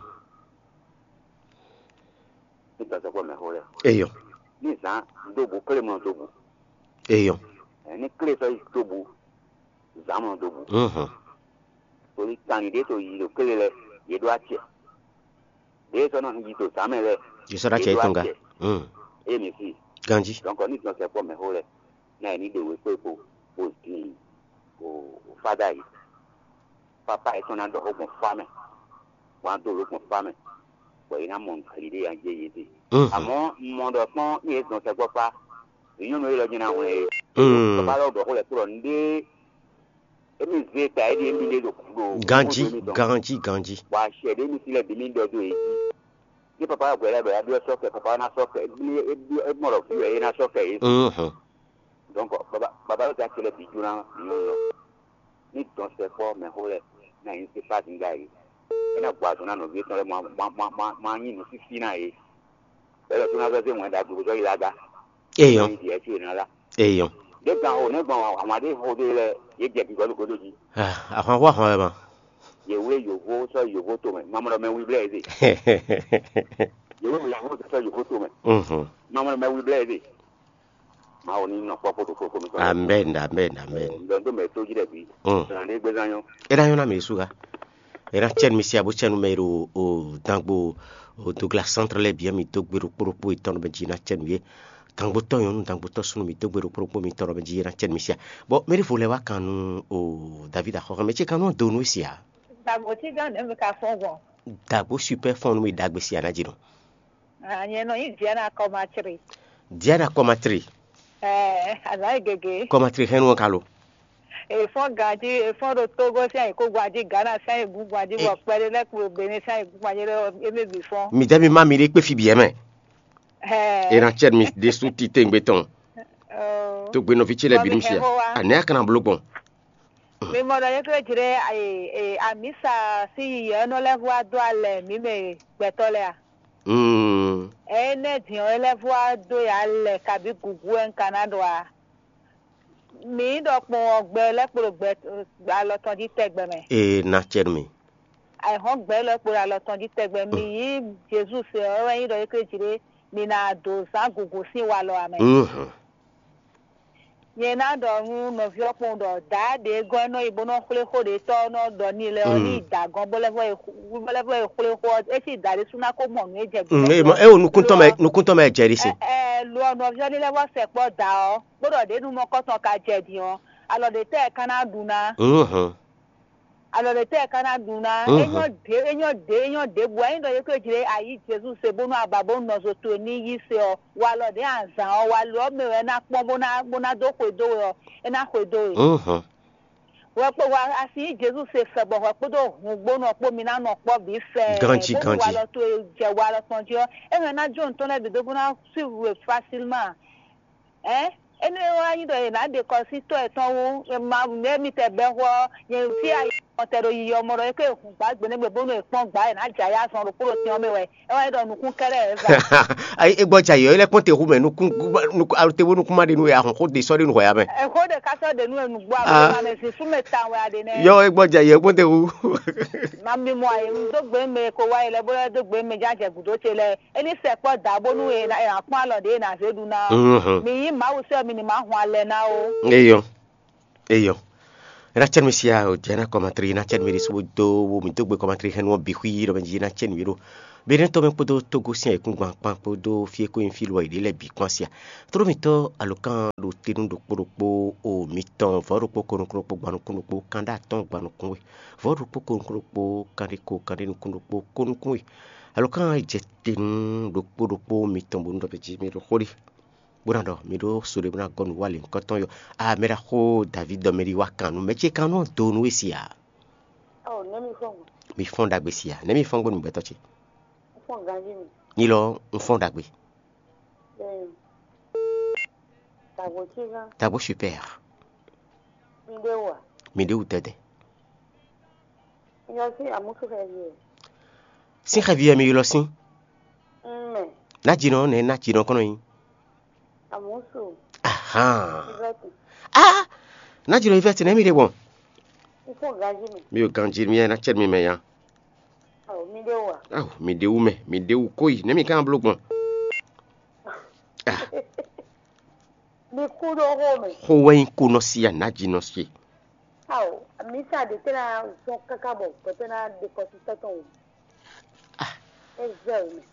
Ní dɔn sɛkpɔ́ mɛ xó lɛ́. Eyɔ. Ní zǎn dóbǔ klé mɔ dóbǔ. Eyɔ. Ní klé sɔ́ yi dóbǔ zǎn mɔ dóbǔ. Mhm. Torí kanlin ɖé to yi ɖo klé lɛ́ɛ yě ɖó acɛ. Ɖěe sɔ́ nɔ yi to zǎn mɛ lɛ́ɛ. Yě sɔ́ ɖó acɛ yětɔn ga. Mm. Eye mi si. Ganjí. Donc ní dɔn sɛkpɔ́ mɛ xó lɛ́ɛ ná yě ní ɖe wěkpékpo bó din o fada yi. Papa yětɔn ná ɖɔ xó gbɔn fá mɛ, bɔ ná dó lǒ gbɔn fá mɛ, bɔ yě ná mɔ nǔ xlí ɖé nya jɛ yě ɖe. Mhm. Àmọ́ un mɔ ɖɔ kpɔ́n ní yě dɔn sɛkpɔ́ fá, vǐ nyɔ́nu élɔ́ jɛ́n ná hwlɛ́n yě. Mm. Papa lɔ ɖɔ xó lɛ́ɛ kplɔ́ nǔɖé émi zé ta é ɖi émi ɖé ɖo ɖo Ganjí, ganjí, ganjí. Bɔ acɛ ɖé mi si lɛ bǐ mi ɖɔ dó yě jí. Ní papa wá gbɛ lɛ́ɛ bɔ é ná byɔ́ sɔ́ kɛ, papa ná sɔ́ kɛ, é mɔ ɖɔ fí wɛ é ná sɔ́ kɛ yě. Mhm. Donc baba baba yóò ta kele bǐ jó ná nyɔ́nu lɔ. Ní dɔn sɛ kpɔ́ mɛ xó lɛ ná yín se pá zǐngá yě. É ná gbɔ azɔn ná nɔví tɔn lɛ ma ma ma ma ma nyí nǔsísí ná yě. Bɛlɛ tó ná vɛ́ zé wɛn ɖagbe bó zɔ́ yi laga. Eyɔn. Ní diɛ tí yě ná lá. Eyɔn. Ɖé gan xo nɛ́ gbɔn àwọn aɖé xo ɖé lɛ yě jɛ gǐgɔ́ ló godo jí. Ah, ahwan xó ahwan wɛ ma. Yě wlé yǒvó sɔ́ yǒvó tomɛ, mamlɔ mɛ wi blɛ́ yě zé. Yǒvó mɛ yǎvó sɔ́ yǒvó tomɛ, Mhm. Mamlɔ mɛ wi blɛ́ yě zé. Mawu ní nɔ kpɔ́ kpódó fofo mi tɔn. Amen, amen, amen. Ŋdɔ dó mɛ tó jí ɖɛ bí. Mm. Sɔnà ní gbézán nyɔ. É ná nyɔ́ ná mɛ ɖésú ká. É ná cɛ́ nú mi sí abó cɛ́ nú mɛ e ɖo o dangbo o Douglas centre lɛ́ɛ bǐ mi dó gbe ɖokpó ɖokpó yětɔn nú mɛ jí ná cɛ́ nú yě. Dangbotɔ́ nyɔ̌nu, dangbotɔ́ súnnu mi dó gbe ɖokpó ɖokpó mitɔn nú mɛ jí ná cɛ́ nú mi sí a. Bɔ mɛ ɖěvo lɛ́ɛ wá kan nú o David axɔ́xɔ́ mɛ ce kan nú dó nú é sí a. Dagbo tí gán nɛ̌ mi ka fɔ́n gbɔn? Dagbo super fɔ́n nú mi ɖagbe sí a ná jí nɔ. Nyɛ nɔ nyí Diana Kɔmatri. Diana Kɔmatri. Ɛɛ, azǎn e gege. Kɔmatri hɛn nu ɔ́ ka lo. Èfɔ́n ganjí, èfɔ́n ɖo Tógó sín ayǐkúngban jí, Ghana sín ayǐkúngban jí, bɔ kpɛɖé lɛ́ɛ kpo Benin sín ayǐkúngban jí lɛ́ɛ, émí bǐ fɔ́n. Mi dɛ́ mi má mi ɖe kpé fí bǐ ɛ mɛ. Ɛɛ. E ná cɛ mi ɖésú titewungbe tɔn. Tógbe nɔví ce lɛ́ɛ bǐ nú fia. Anɛ̌ a ka ná bló gbɔn? Mi mɔ ɖɔ yě tlé jlé amǐsa sín yiyɛ ɔ́ nɔ lɛ́ vɔ wá dó alɛ mǐ mɛ gbɛtɔ́ lɛ́ɛ a? Mm. Ɛ̌ énɛ́ din ɔ́, é lɛ́ vɔ wá dó yě alɛ kabǐ gǔgú wɛ un ka ná ɖɔ a? Mǐ ɖɔ kpɔn ɔ́, gbɛ lɛ́ kpo ɖo gbɛ alɔ tɔn jí tɛgbɛ mɛ. Ee, ná cɛ nú mi. Ayǐhɔ́n gbɛ lɛ́ kpo ɖo alɔ tɔn jí tɛgbɛ. Mǐ yí Jezu se ɔ́, é wɛ nyí ɖɔ yě tlé jlé mǐ ná dǒ zán gǔgú sín walɔ ǎ mɛ. Mhm. Nyɛ ná ɖɔ nú nɔví ɔ́ kpɔ́n ɖɔ dǎ ɖě gɔ́ é nɔ yi bó nɔ́ xwlé xó ɖě tɔ́ ɔ́ nɔ ɖɔ n'i lɛ́ɛ ɔ́, ní yi dǎ gɔ́n bó lɛ́ vɔ yi xwlé xó ɔ́, é cí dǎ ɖésú ná ko mɔ nǔ e jɛ gbǐ. Mm, é mɔ- é wo nukúntɔ́ mɛ nukúntɔ́ mɛ jɛ ɖi sin. Ɛ lo ɔ́, nɔví ɔ́ ní lɛ́ vɔ sɛ kpɔ́ dǎ ɔ́, bó ɖɔ ɖě nu mɔkɔ́tɔn ka jɛ din ɔ́, alɔ ɖě tɛ́ ɛ ka ná ɖu ná? Mhm. Alɔ ɖě tɛ́ ɛ ka ná ɖu ná? Mhm. É nyɔ́ ɖě é nyɔ́ ɖě é nyɔ́ ɖěbǔ. Ényí ɖɔ yě ko jlé ayǐ Jezu se bónú aba bó nɔ zo towe ní yí se ɔ́, walɔ ɖě azǎn ɔ́, walɔ ɔ́ mɛ wɛ é ná kpɔ́n bó ná bó ná dó xwedó we ɔ́, é ná xwedó we. Mhm. Hwɛ kpó wa asi nyí Jezu se fɛ bɔ hwɛ kpódó hun gbónɔ kpó mi ná nɔ kpɔ́ bǐ fɛ. Ganjí, bónú ganjí. Walɔ towe jɛ walɔ tɔn jí ɔ́, é hɛn ná jó nǔ tɔn lɛ́ɛ bǐ dó bó ná suivre we facilement. Ɛn énɛ́ wá nyí ɖɔ è nǎ ɖe kɔ sín tɔ́ yětɔn wú, ma nǔ e mitɛ bɛ́ xó ɔ́, nyɛ fí ayǐ mɔtɛ ɖo yiyi ɔ́ mɔ ɖɔ é ké hun gbǎ gbe nɛ́ gbe bónú è kpɔ́n gbǎ è nǎ jɛ ayǐ azɔn ɖokpó ɖo tɛn ɔ́ mɛ wɛ. É wá nyí ɖɔ nukún kɛ́ɖɛ́ ɛ za. Ayi, é gbɔ jɛ ayǐ ɔ́, é lɛ́ kpɔ́n te hu mɛ nukún nukún alo te bó nukún má ɖe nú we ahɔn xó de sɔ́ ɖe nú hwɛ ya mɛ. Ɛ xó ɖe ká sɔ́ ɖe nú enu gbɔ Ah. Agbóhùnmá mɛ zin súnmɛ tawun wɛ aɖe nɛ. Yɔ é gbɔ jɛ ayǐ ɔ́ kpɔ́n te hu. Ma mi mɔ ayǐ dó gbe mɛ ko wá yi lɛ bó lɛ́ dó gbe mɛ já jɛ gǔdo ce lɛ. É ní sɛ kpɔ́ da bónú è nǎ è nǎ kpɔ́n alɔ ɖě è nǎ zé ɖu ná ɔ́. Mhm. Mi nyí Mawu sɛ́ mi ní ma hun alɛ ná ó. Eyɔ. Eyɔ. É ná cɛ́ nú mi sia o, jɛ ná kɔmatri, é ná cɛ́ nú mi ɖésú bó dó wo mǐ dó gbe kɔmatri hɛn nú ɔ́ bǐ xwí ɖɔ mɛ jí é ná cɛ́ nǔ e ɖo Benɛ́tɔ́ mɛ kpódó Tógó sín ayǐkúngban kpán kpódó fí e kó nyí fí lɔ yě ɖe lɛ́ɛ bǐ kpán sia. Tlóló mǐtɔn alǒkan ɖo te nú ɖokpó ɖokpó o mitɔn vɔ̌ ɖokpó ko nukún ɖokpó gban nukún ɖokpó kanɖé atɔ́ɔ́n gban nukún we, vɔ̌ ɖokpó ko nukún ɖokpó kanɖé ko kanɖé nukún ɖokpó ko nukún we. Alǒkan e jɛ te nú ɖokpó ɖokpó mitɔn bónú ɖɔ mɛ jí mi ɖo xó ɖi bó ná ɖɔ mi ɖó so ɖé bó ná gɔ́ nǔ wa lěhunkɔtɔn yɔ. A mɛ ɖaxó David ɖɔ mɛ ɖi wá kan nú mɛ ce kan nú do nú we si a? Ɔ, nɛ́ mi fɔ́n gbɔn? Mi fɔ́n ɖagbe si a? Nɛ́ mi fɔ́n gbɔn nǔgbɛtɔ́ ce? Un fɔ́n ganjí mi. Nyi lɔ un fɔ́n ɖagbe. Bẹ́ẹ̀ ni. Tàgbó cí gán. Tàgbó super. Mi ɖé wà. Mi ɖé wù tɛtɛ. Yɔ sí àmúsúfẹ́ yìí. Sín xɛvi wɛ mi ylɔ́ sín. Mɛ. Nájínɔ nɛ́ nájínɔ kɔnɔ nyi. Àmúsù. Ahan. Ìrẹsì. Ah, nájínɔ Yvette nɛ́ mi ɖe gbɔn? Ikú ganjí mi. Mi ò ganjí mi ɛ ná cɛ mi mɛ ya. Ɔ, mi ɖé wà. Aw, mi ɖe wú mɛ, mi ɖe wú kóyi nɛ́ mi kán bló gbɔn? Ah. Mi kú ɖó xó mɛ. Xó wɛ nyí kó nɔ sí a nájínɔ sí. Ao, mi sa ɖe tɛ́ ná zɔn káká bɔ gbɛtɔ́ ná ɖe kɔsitɔ́ tɔn wò. Ah. É zɛ wò mɛ.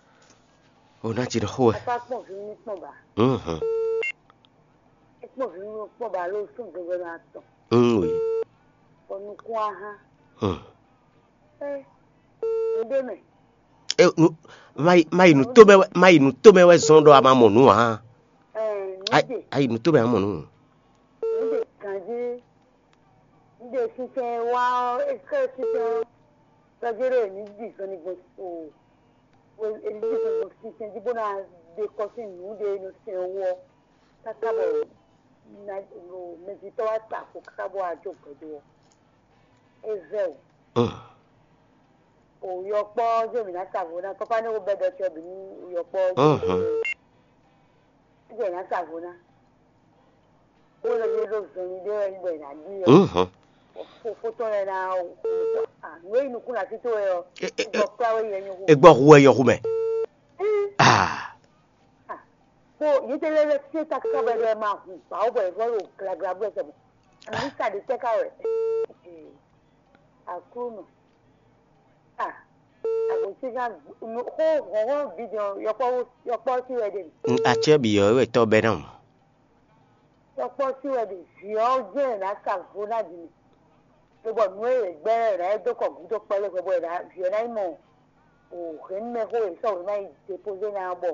O ná ti ɖɔ xó wɛ. Ata kpɔn vi mi kpɔn ba. Mhm. É kpɔn vi mi kpɔn ba ló sún gbogbo ná tɔn. Mm oui. Bɔ nukún aha. Hmm. Ɛ, un ɖe mɛ. E nu ma yi ma yi nu to mɛ wɛ ma yi nu to mɛ wɛ zɔn ɖɔ a ma mɔ nu a? Ɛ, nu Ai ɖe. Ayi nu to mɛ a mɔ nu. Nu ɖe ganji. Nu ɖe sinsɛn wa ɔ, esɛ sinsɛn ɔ. Sɔjere ni di zɔn ni gbɔn o. Eni di zɔn gbɔn sinsɛn ji bó na ɖe kɔ sín nu ɖe nɔ sɛn wɔ. Káká bɔ mɛjitɔ́ wa ta ko káká bɔ wá jó gbɛdó ɔ. É vɛ o. Mm. O yɔkpɔ jɛ mi na sa vo na papa ne ko bɛ dɔ tɔ bi ni yɔkpɔ. Mhm. Jɛ na sa vo na. Ko le bi do zɔn ni de wɛ ni bɛ na di ɔ. Mhm. Fofo tɔ yɛ na o. Ah, no yi nukun la tito yɛ ɔ. E, e, e, Gbɔ kura we yɛ nyɔ ko. Egbɔ hu wɛ yɔ hu mɛ. Mm. Ah. Ah, ko yi te le le se ta ka bɛ de ma hu ba o bɛ vo lo gra gra bɛ se. Ani sa de te ka wɛ. Aklúnɔ. Ah, àbòsí gán xó hɔ̌nhɔ́n bǐ din ɔ́, yɔkpɔ́ yɔkpɔ́ sí wɛ ɖe mi. Acɛ́ bǐ ɔ́ wɛ tɔ́ bɛ́ ná mɔ̌. Yɔkpɔ́ sí wɛ ɖe vǐ ɔ́ jɛ́n è nǎ sa vo ná din mi. Lobɔ nǔ e è gbɛ́ ɔ́, è nǎ é dó kɔ gǔdo kpɛ́ lé hwɛ bɔ è nǎ vǐ ɔ́ ná yi mɔ o hɛ̌nnumɛxó e è sɔ́ wě ná yi depozé ná ɔ́ bɔ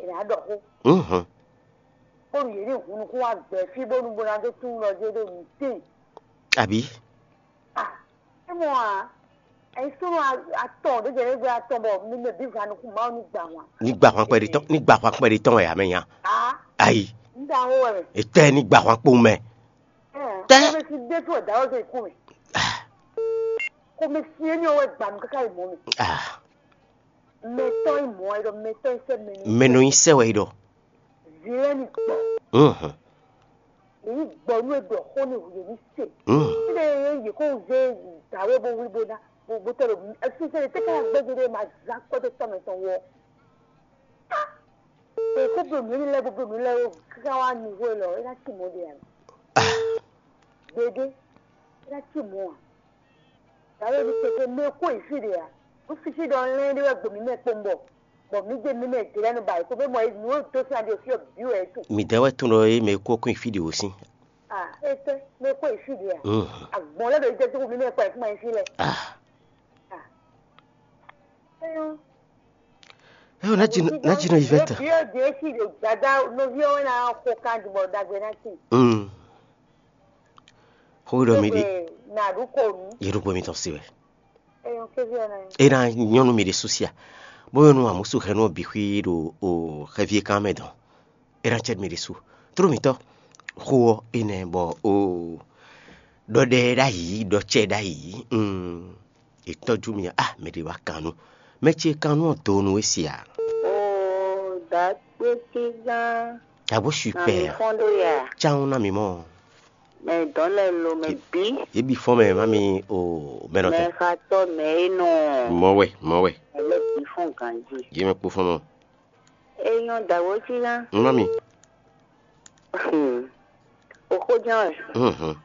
è nǎ ɖɔ xó. Bónú yě ní hun nukún wá gbɛ̌ fí bónú bó ná dó tunwun ɖɔ jé ɖo nǔ tíin. Abǐ? Ah, é mɔ a, é súnnu atɔn ɖě jɛ ɖě gbé atɔn bɔ mi mɛ bǐ va nukún Mawu ní gbà wǎn. Ní gbà hwan kpɛɖé tɔn, ní gbà hwan kpɛɖé tɔn wɛ ame nya. Ah, ayi, ń da wó wɛ mɛ. Ètɛ ní gbà hwan kpowun mɛ. Tɛ. Kɔmɛsi ɖé tó ɛ̀dá wɛ tó ikú mɛ. Kɔmɛsi éní ɔwɛ gbà mí káká ìmọ̀ mi. Ah. Mɛtɔn ìmọ̀ ɛ ɖɔ mɛtɔn ìsɛ mɛnu. Mɛnu ìsɛ wɛ ɖɔ. Zilɛ ni gbɔ. Mhm. Èyí gbɔ nú eɖɔ xó ni wòye ní se. Mhm. Sílẹ̀ yẹ yẹ kó zé dàwé bó wuli bó ná bó bó tẹ̀lé ẹsùn sẹ́yìn tẹ́ka gbẹ́jẹ́ dé ma zá kpọ́dé tọ́mẹ tán wọ́. Èkó bí omi lɛ bó bí omi lɛ ó kíkà wá ní wó lọ é ná tì mọ́ de àná. Gbédé é ná tì mọ́ à. Dàbí ẹni pèsè mɛ kó ìfì de à. Ó fi sí ɖɔ lɛ́n ɖé wɛ gbòmí mɛ kpó ń bọ̀. Bɔ mǐ jɛ mǐ mɛ jlɛ́ nu ba èkó bɛ mɔ nǔ e dó sín adi òfin ɔ́ bǐ wɛ é tunwun. Mǐ dɛ́ wɛ tunwun ɖɔ é mɛ kó kún ìfí ɖě wó sín. Ah, é tɛ́ mɛ kó ìfí ɖě à? Mhm. Agbɔn lɛ́ ɖo jɛ tókù mí mɛ kɔ ìfúnma ìfí lɛ. Ah. Ah. Éyɔ́. Éyɔ́, ná jí nɔ ná jí nɔ yi vɛ tán. Bíyɔ́ di ési ɖo dada nɔví ɔ́ wɛ ná xo kan dùbɔ dagbe ná sí. Mm. Xó ɖɔ mi ɖi. Nà ɖu kò nú. Yɛ ɖo gbɔ mi tɔn si wɛ. Éyɔ́ kéví ɔ́ ná. E na nyɔnu mi ɖe susia. Bó nyɔnu amusu hɛnu ɔ bi xwi ɖo o xɛvi e kan mɛ dɔn. E na cɛ mi ɖe su. Tró mi tɔ. Xó ɔ enɛ bɔ o ɖɔ ɖɛ ɖ'ayǐ ɖɔ cɛ ɖ'ayǐ. Mm. È tɔ́jú mi a, mɛ ɖě wá kan nú. Mɛ ce kan nú ɔ́ do nú we se a? Oo, dǎkpékígán. Abo super. Nà mì fɔ́n ɖó ya. Cawun ná mi mɔ. Mɛ dɔn lɛ lo mɛ bí. Yě bi fɔ́n mɛ má mi o mɛ nɔ tɛ. Mɛ xatɔ mɛ e nɔ. Mɔ wɛ, mɔ wɛ. Mɛ lɛ bí fɔ́n ganjí. Yě mɛ kpó fɔ́n mɔ. E nyɔ dǎwó cí ná. Má mi. Hmm. O xó ján wɛ. Mhm.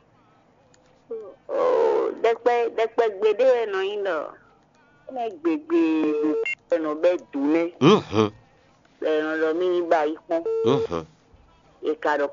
Nɔ ne gbegbe ɖo nɔ bɛ dun nɛ. Bɛ nɔ ɖɔ mi ba yi kpɔn. E ka ɖɔ